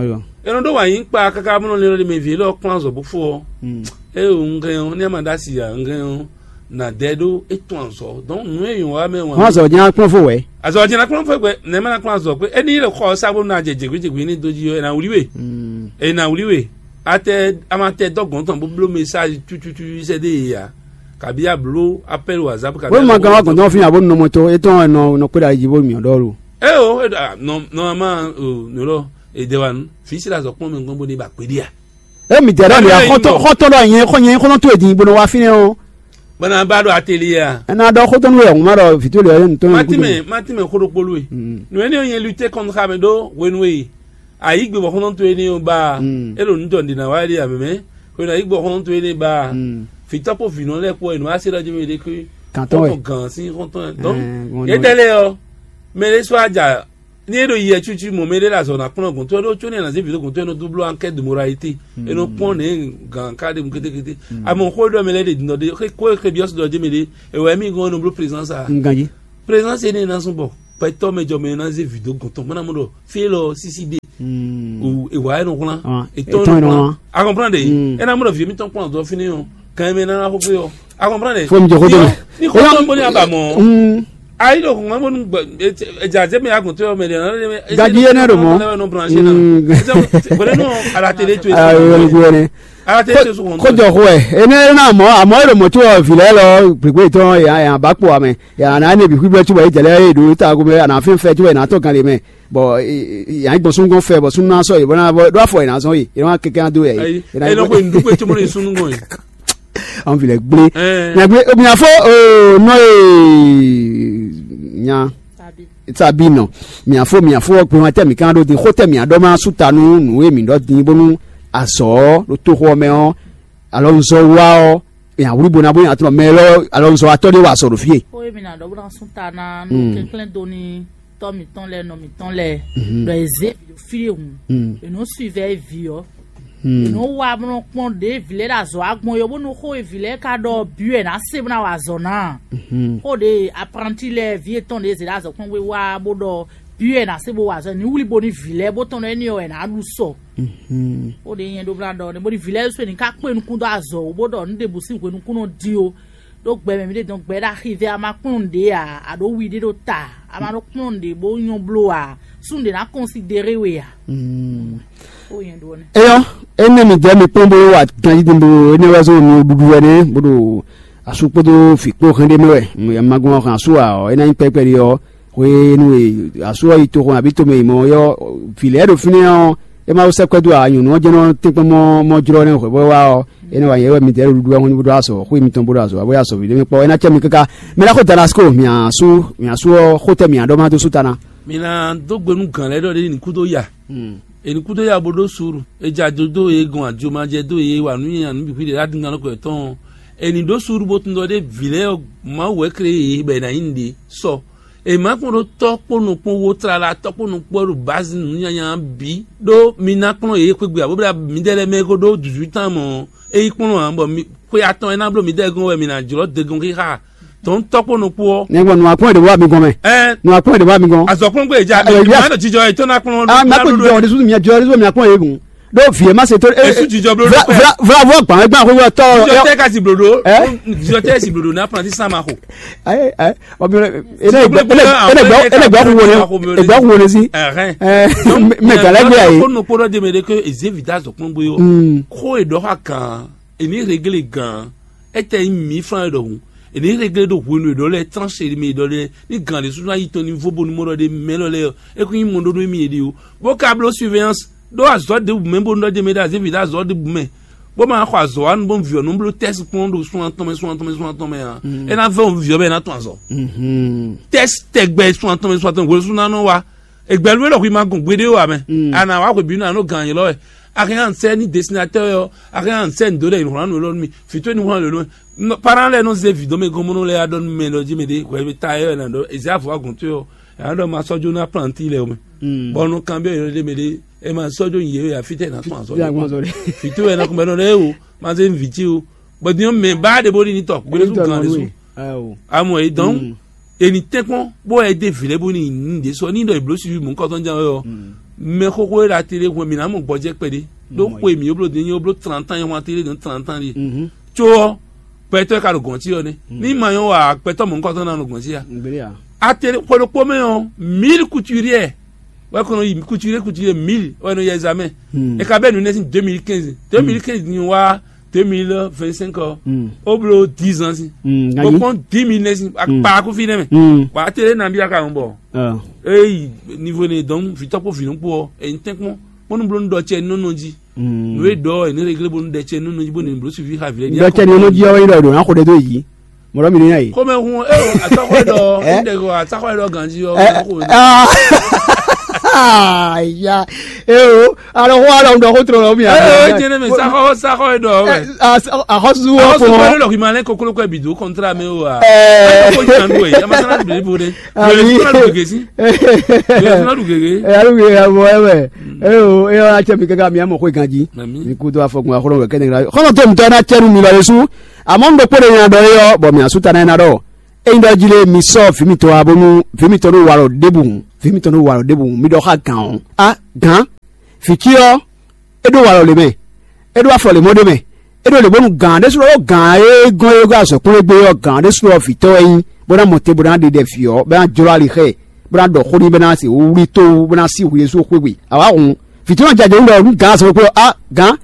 eno do wa yi kpa kaka bonu le le mɛ vie lɔ kplan zɔ bofo ɔ. E o ngɛ o ne ma da si ya ngɛ o na dɛ do e tɔn azɔ donc nu e yɔn wa mɛ wan. Wọn azɔ jɛn akplɔn fo wɛ. Azɔ jɛn akplɔn fo gbɛ ne ma na kplan azɔ pe eni le xɔ sa bonu na jɛ jegbe jegbe ni do ji yɔ e na wuli we. E na wuli we. Atɛ ama tɛ dɔ gɔn tɔn bó bló message tututu sɛ de ya. Kabi a bló appel whatsapp kabi. Wọ́n mọ kan wá kàn tán fi hàn bó nọmọ tó é tán ẹ̀ nọ nọ kpé ɖa yí bó mì ɔ̀dọ́ lo. E o e do a nɔ nɔ a ma o nɔ lɔ e de wa nu fi si la zɔ kpɔn mi gbɔn bó de ba kpé di a. E mi dɛ ɖɔ mi xɔtɔn ɖɔ nyɛ xɔ nyɛ xɔtɔn to edi bolo wa fi nɛ o. Bana ba ɖo atelier a. Ena ɖɔ xɔtɔn nu yɛ ŋuma ɖɔ vito le yɛ ntɔn. Matime matime xo ɖokpolu e. Nu ene yɛ lutter contre xa mɛ ɖo hwenu e. Ayi gbe bɔ xɔtɔn to ene o ba. E ɖo nu jɔ ndi na wa ɖi amɛ mɛ. Hwenu ayi gbe bɔ xɔtɔn to ene ba. Fitɔ kpo vinɔ lɛ kpo enu ase ɖɔ jɛmɛ ɖe kwe. Kantɔn wɛ. Xɔtɔn gan si xɔtɔn. Donc yɛ dɛ lɛ yɔ. Mɛ ɖe sɔ adza. Ní é ɖo yi cucu mɔ mɛ ɖé ɖo azɔ̌ ná kplɔ́n gɔ̌n tó é ɖó có ní è nǎ zé vǐ ɖó gɔ̌n tó é nɔ dó bló ankɛ́ de moralité. É nɔ kpɔ́n nɛ̌ gǎn ká ɖe mu kétékété. Amɔ xó e ɖɔ mɛ lɛ́ɛ ɖe din ɖɔ ɖé xé kó e xé byɔ́ sɔ́ ɖɔ jé mɛ ɖé, è wɛ mì gɔ́n é nɔ bló présence a. Un ganji. Présence énɛ́ ná zɔ́n bɔ gbɛtɔ́ mɛ jɔ mɛ ná zé vǐ dó gɔ̌n tɔn bó ná mɔ ɖɔ fí élɔ́ sísí ɖe. È wǎ é nɔ wlán. Ètò é nɔ wlán. A comprendre? É ná mɔ ɖɔ vǐ émítɔn kplɔ́n azɔ̌ fínɛ́ ɔ́, kan e mɛ ná ná xó fé ɔ́. A comprendre? Fó mi jɔ xó dó mɛ. Ní xó tɔn bó ní a ba mɔ. Ayi ɖo kɔngɔn bónú. Ɛdza zé mi agun tó yɔ mɛ ɖe ɔnɔ. Gaji yé nɛ ɖo mɔ. Bɔlɛ nɔ branché na. Bɔlɛ nɔ. Ala télé tó. Ala télé tó sɔgɔn. Kójɔ xó ɛ ene na mɔ àmọ́ èrò mọ̀ tí wọ́n vìlẹ́ lọ gbègbè tán yàn bá kpó àmẹ́ yàn náà níbi gbígbẹ́ tí wọ́n yé jẹ̀lẹ́ yé ɖo tá a gomɛ àná fín fẹ́ tí wọ́n yé náà tọ́ gan lè mẹ́ bɔn yàn gbɔn súngɔn fẹ́ bɔn súnú náà sọ yìí bɔn náà bɔ ɖó àfọ yìí náà sọ yìí yìí náà kékeré dó yà yìí. Ɛ lɔ ko yin dúpẹ́ tí mo lè sunu ŋɔ yìí. An fi lɛ gblé. Nya gblé omi afɔ nɔ ee nya. Sabi nɔ mi afɔ mi afɔ gbɛma tɛ mi kan ɖo din xó tɛ mi aɖɔ ma su ta nu nu e mi ɖɔ din bónú azɔ ɖo toxo mɛ ɔ alɔ nzɔ wa ɔ nya wuli bona bó nya tɔnɔ mɛ lɔ alɔ nzɔ atɔ de wa azɔ ɖo fie. Xó e mi na ɖɔ bó na sún ta na nú kɛnklɛ́n do ní tɔ́ mǐtɔn lɛ́ɛ nɔ mǐtɔn lɛ́ɛ ɖɔ è zě vǐ ɖo fí ɖé hǔn è nɔ suivɛ vǐ ɔ́ è nɔ wá bó nɔ kpɔ́n ɖě vǐ lɛ́ɛ ɖo azɔ̌ wa gbɔn é bónú xó e vǐ lɛ́ɛ ka ɖɔ bǐ wɛ è nǎ se bó ná wa azɔ̌ ná a? Xó ɖě apranti lɛ́ɛ vǐ yětɔn ɖě zě ɖo azɔ̌ kpɔ́n gbé wá bó ɖɔ bǐ wɛ è nǎ se bó wa azɔ̌ ní wlí bo ní vǐ lɛ́ɛ bó tɔn ɖɔ énɛ́ ɔ́ è nǎ ɖu sɔ. Xó ɖě nyɛ ɖó bó ná ɖɔ nɛ́ bónú vǐ lɛ́ɛ ɖésú è ní ká kpé nukún dó azɔ̌ wú bó ɖɔ nǔ ɖěbǔ sín hwenu kún nɔ dín ó. Ɖó gbɛ mɛ mǐ ɖe dɔn gbɛ ɖo axi vɛ a ma kplɔ́n nǔɖé ǎ a ɖǒ wi ɖé ɖo ta a ma ɖó kplɔ́n nǔɖé bó nyɔ́ bló ǎ. Súnnu ɖě ná kɔnsidéré we ǎ. Ó nyɛ ɖó nɛ́. Eyɔ, énɛ́ mi jɛ mi kpɔ́n bó wa ganjí din bó énɛ́ wɛ zɔn mi ɖuɖu wɛ nɛ́ bó ɖo asú kpódó vǐ kpó hɛn ɖé mɛ wɛ. Mɛ ma gbɔn hɛn asú ǎ ɔ́, é ná nyí kpɛ́kpɛ́ ɖé ɔ́, hwenu e asú ɔ́ yi toxo abǐ tomɛ yi mɔ ɔ́, vǐ lɛ́ɛ ɖo fínɛ́ ɔ́, é ma wú sɛ́ kwɛ́ dó ǎ, nyɔ̌nu ɔ́ jɛ́n nɔ tɛ́nkpɔ́n mɔ mɔ jlɔ́ nɛ́ hwɛ̌ bó wá ɔ́, é nɔ wa nyɛ wɛ midɛɛ ɖo ɖuɖu ɔ́ bó ɖó azɔ̌, xwé mitɔn bó ɖó azɔ̌, bó yá azɔ̌ ví ɖé mɛ kpɔ́. É ná cɛ mi káká. Mɛ ɖaxó Damasko, mǐ asú mǐ asú ɔ́, xó tɛ́ mǐ ɖɔ má dó sú ta ná. Mi ná dó gbe nú gǎn lɛ́ɛ ɖɔ ɖé ní kú dó ya. È ní kú dó ya bó ɖó suúlu. È jɛ ajo dó yě gɔn ajomajɛ dó yě wa nǔ nyi nǔ bǐ xwíɖe ɖo adingannɔkɔ yětɔn ɔ́. È ní ɖó suúlu bó tun ɖɔ ɖé vǐ lɛ́ɛ ɔ́, Mawu wɛ klé yě bɔ è nǎ nyí nǔɖé sɔ. È má kpɔ́n ɖó tɔ́ kpó nɔ kpɔ́n wó tlala tɔ́ kpó nɔ kpɔ́ ɖo bǎzi nǔnyanyan bǐ ɖó mi ná kplɔ́n yě xwé gbe ǎ bó ɖo midɛɛ lɛ́ɛ mɛ é ko ɖó duzwítán mɔ̌ é yi kplɔ́n ǎ bɔ xwe atɔn e ná bló midɛɛ gɔ́n wɛ mi ná jlɔ́ degɔn xixa tɔn tɔ́ kpó nɔ kpó ɔ́. Nɛgbɔ nɔ akpɔn ɖe wa mi gɔn mɛ. Ɛ nɔ akpɔn ɖe wa mi gɔn. Azɔkplɔ́n gbé ja Ɛ, ya- mɛ ɖo jijɔ yetɔn ná kplɔ́n. Ah, mɛ ko jijɔ ɔdi susu mi jɔ ɔdi susu mi akpɔn ye gun. Ɖo vie ma se to. Esu jijɔ blo ɖo pɛ. Vla vla vɔ gban gban ko yɔ tɔ. Jijɔ tɛ kasi blo ɖo. Ɛ? Jijɔ tɛ si blo ɖo n'a planti sama ko. Ayi ayi. Ɔbi ele gbɔ ele gbɔ ele gbɔ kun wone ele gbɔ kun wone si. Ɛhɛn. Ɛ, mɛ gala gbé ayi. Ko no kpɔdɔ de mɛ de ke eze vida zɔ kpɔn gbé yɔ. Ko edɔ ha kan eni regle gan. Etɛ nyi mǐ fán ɖɔhun. Eni regle ɖo hwenu ɖɔ lɛ tranche mi ɖɔ lɛ ni gan ɖe susu ayi tɔn ni vo bonu mɔ ɖɔ ɖe mɛ lɔ lɛ. Eku nyi mɔ ɖo nú mi ɖi o. Bó ka bló surveillance ɖó azɔ̌ ɖěbǔ mɛ bónú ɖɔ jɛ mɛ ɖo azévi ɖo azɔ̌ ɖěbǔ mɛ, bó ma xɔ azɔ̌ wa nu bó vǐ ɔ́ nú bló tɛ́si kpɔ́n ɖo sun atɔn mɛ sun atɔn mɛ sun atɔn mɛ ǎ. É ná vɛ́ vǐ ɔ́ bɔ é ná tɔn azɔ̌. Tɛ́si tɛgbɛ sun atɔn mɛ sun atɔn mɛ hwenu sú ná nɔ wá. Ègbɛ́ lú é ɖɔ hwi ma gɔn gbeɖé o ǎ mɛ. A nǎ wá hwebǐnu ǎ nɔ gǎn ylɔ́ wɛ. A hɛn ǎ sɛ́ ní dɛsinatɛ́ ɔ́, a hɛn ǎ sɛ́ nǔ dó ɖɔ è nǐ wlán nǔ élɔ́ nú mi. Vǐ towe ní wlán nǔ élɔ́ mɛ. Parán lɛ́ɛ nɔ zé vǐ dɔn mɛ gɔ́n bó nɔ lɛ́ ya ɖɔ nú mɛ ɖɔ jí mɛ ɖě hwɛ ta ɛ wɛ ná ɖɔ è zě avɔ wá gɔ̌n towe ɔ́. Yǎ ɖɔ ma sɔ́ jó ná planti lɛ o mɛ. Bɔ nɔ kanbyɔ yɔ ɖe mɛ ɖe e ma sɔ́ jó nyi yě wɛ afí tɛ ná tún azɔ. Fitó wɛ ná kún bɛ nɔ ɖe o ma zé vǐ tí o. Bɔ din mɛ ba ɖe bó ɖi ní tɔ gbélé tún gan ɖe su. Amɔ e dɔn eni tɛnkpɔn bó wɛ de vǐ lɛ bó ni ní ɖe sɔ ní ɖɔ ìbló suivi mɔ kɔtɔn jan wɛ ɔ. Mɛ xóxó e la télé hwɛ mi ná mɔ gbɔjɛ kpɛɖé. Ɖó xwe mi yóbló din yóbló trantán yɛ hwan télé dɔn trantán ɖi. Tso ɔ gbɛtɔ ka ɖo gɔn tí ɔ nɛ. Ní ma nyɔ wa gbɛtɔ mɔ kɔtɔn na ɖo gɔn tí a. Atele xwe ɖokpó mɛ ɔ mille couturier wɛ kɔnɔ yi couturier couturier mille wɛ nɔ yɛ examen. E ka bɛ nu nɛ sin deux mille quinze, deux mille quinze ni wa deux mille vingt-cinq ɔ. O blo dix ans si. O kpɔn dix mille nɛ sin akpa ko fi nɛ mɛ. Wa atele na bi aka ŋu bɔ. Eyi niveau ne donc vitɔ kpo vi nukpo ɔ eyin tɛnkpɔn kpɔnu blo nu dɔ cɛ nɔnɔ ji. Nǔ e ɖɔ ɛ ní réglé bónú ɖɛ cɛ nú nɔjí bónú bló sufi xa vǐ lɛ́ɛ. Ɖɔ cɛ ni nɔ jí ɔ́ wɛ ɖɔ ɖo ná xo ɖe dó yi. Mɔɖɔ mi ní yí. Xomɛ hun ɛ o atsɔxɔ ɛ ɖɔ ɛ ɖɛ ko atsɔxɔ ɛ ɖɔ ganji ɔ. Ya. E o alɔ xɔ alɔ ŋdɔ xo tlɔ lɔ mi. Ɛ ɛ jẹnɛ mɛ saxɔ saxɔ ɛ ɖɔ wɛ. Axɔsu wɔ Axɔsu kɔ. Wɛ lɔ k'i ma lɛ kokolo kɔ ɛ bi do kɔntra mɛ o wa. Ɛ ko jan do ɛ yamasana do ebo de. Ami. Yɛlɛ sɔnna do gege si. Yɛlɛ sɔnna do gege. Ɛ alu gege abo ɛ wɛ. E o e wa cɛ mi kaka mi amɔ xo ganji. Ami. Mi kudo afɔkun axɔlɔ wɛ kɛnɛ gra. Xɔlɔ tó mi tɔ na cɛ nu mi lɔ yesu. Amɔ ŋdɔ kpɔɖe nya dɔ yɔ bɔ mi asu ta na na dɔ. Eyin dɔ ji le mi sɔ vǐ mitɔn wá bónú vǐ mitɔn ɖo walɔ ɖébǔ. Vǐ mitɔn ɖo walɔ ɖébǔ mi ɖɔ xá gǎn ɔ́. A gǎn. Vǐ cí ɔ́, é ɖó walɔ lě mɛ, é ɖó afɔ lě mɔ ɖé mɛ, é ɖó lě bónú gǎn ɖésú ɖó gǎn e gɔ́n é gɔ́ azɔ̌kún e gbé ɔ́, gǎn ɖésú ɔ́ vǐtɔ́ wɛ nyí, bó ná mɔ te bó ná ɖe ɖɛ vǐ ɔ́, bó ná jlɔ́ ali xá ɛ, bó ná ɖɔ xó n'i bó ná se wúwlí tówu bó ná sí hwi ɖésú xwé gbe. Awǎ hǔn, vǐ tɔn jɛ jǒ ɖɔ nú gǎn azɔ̌ kpó ɔ́, á gǎn,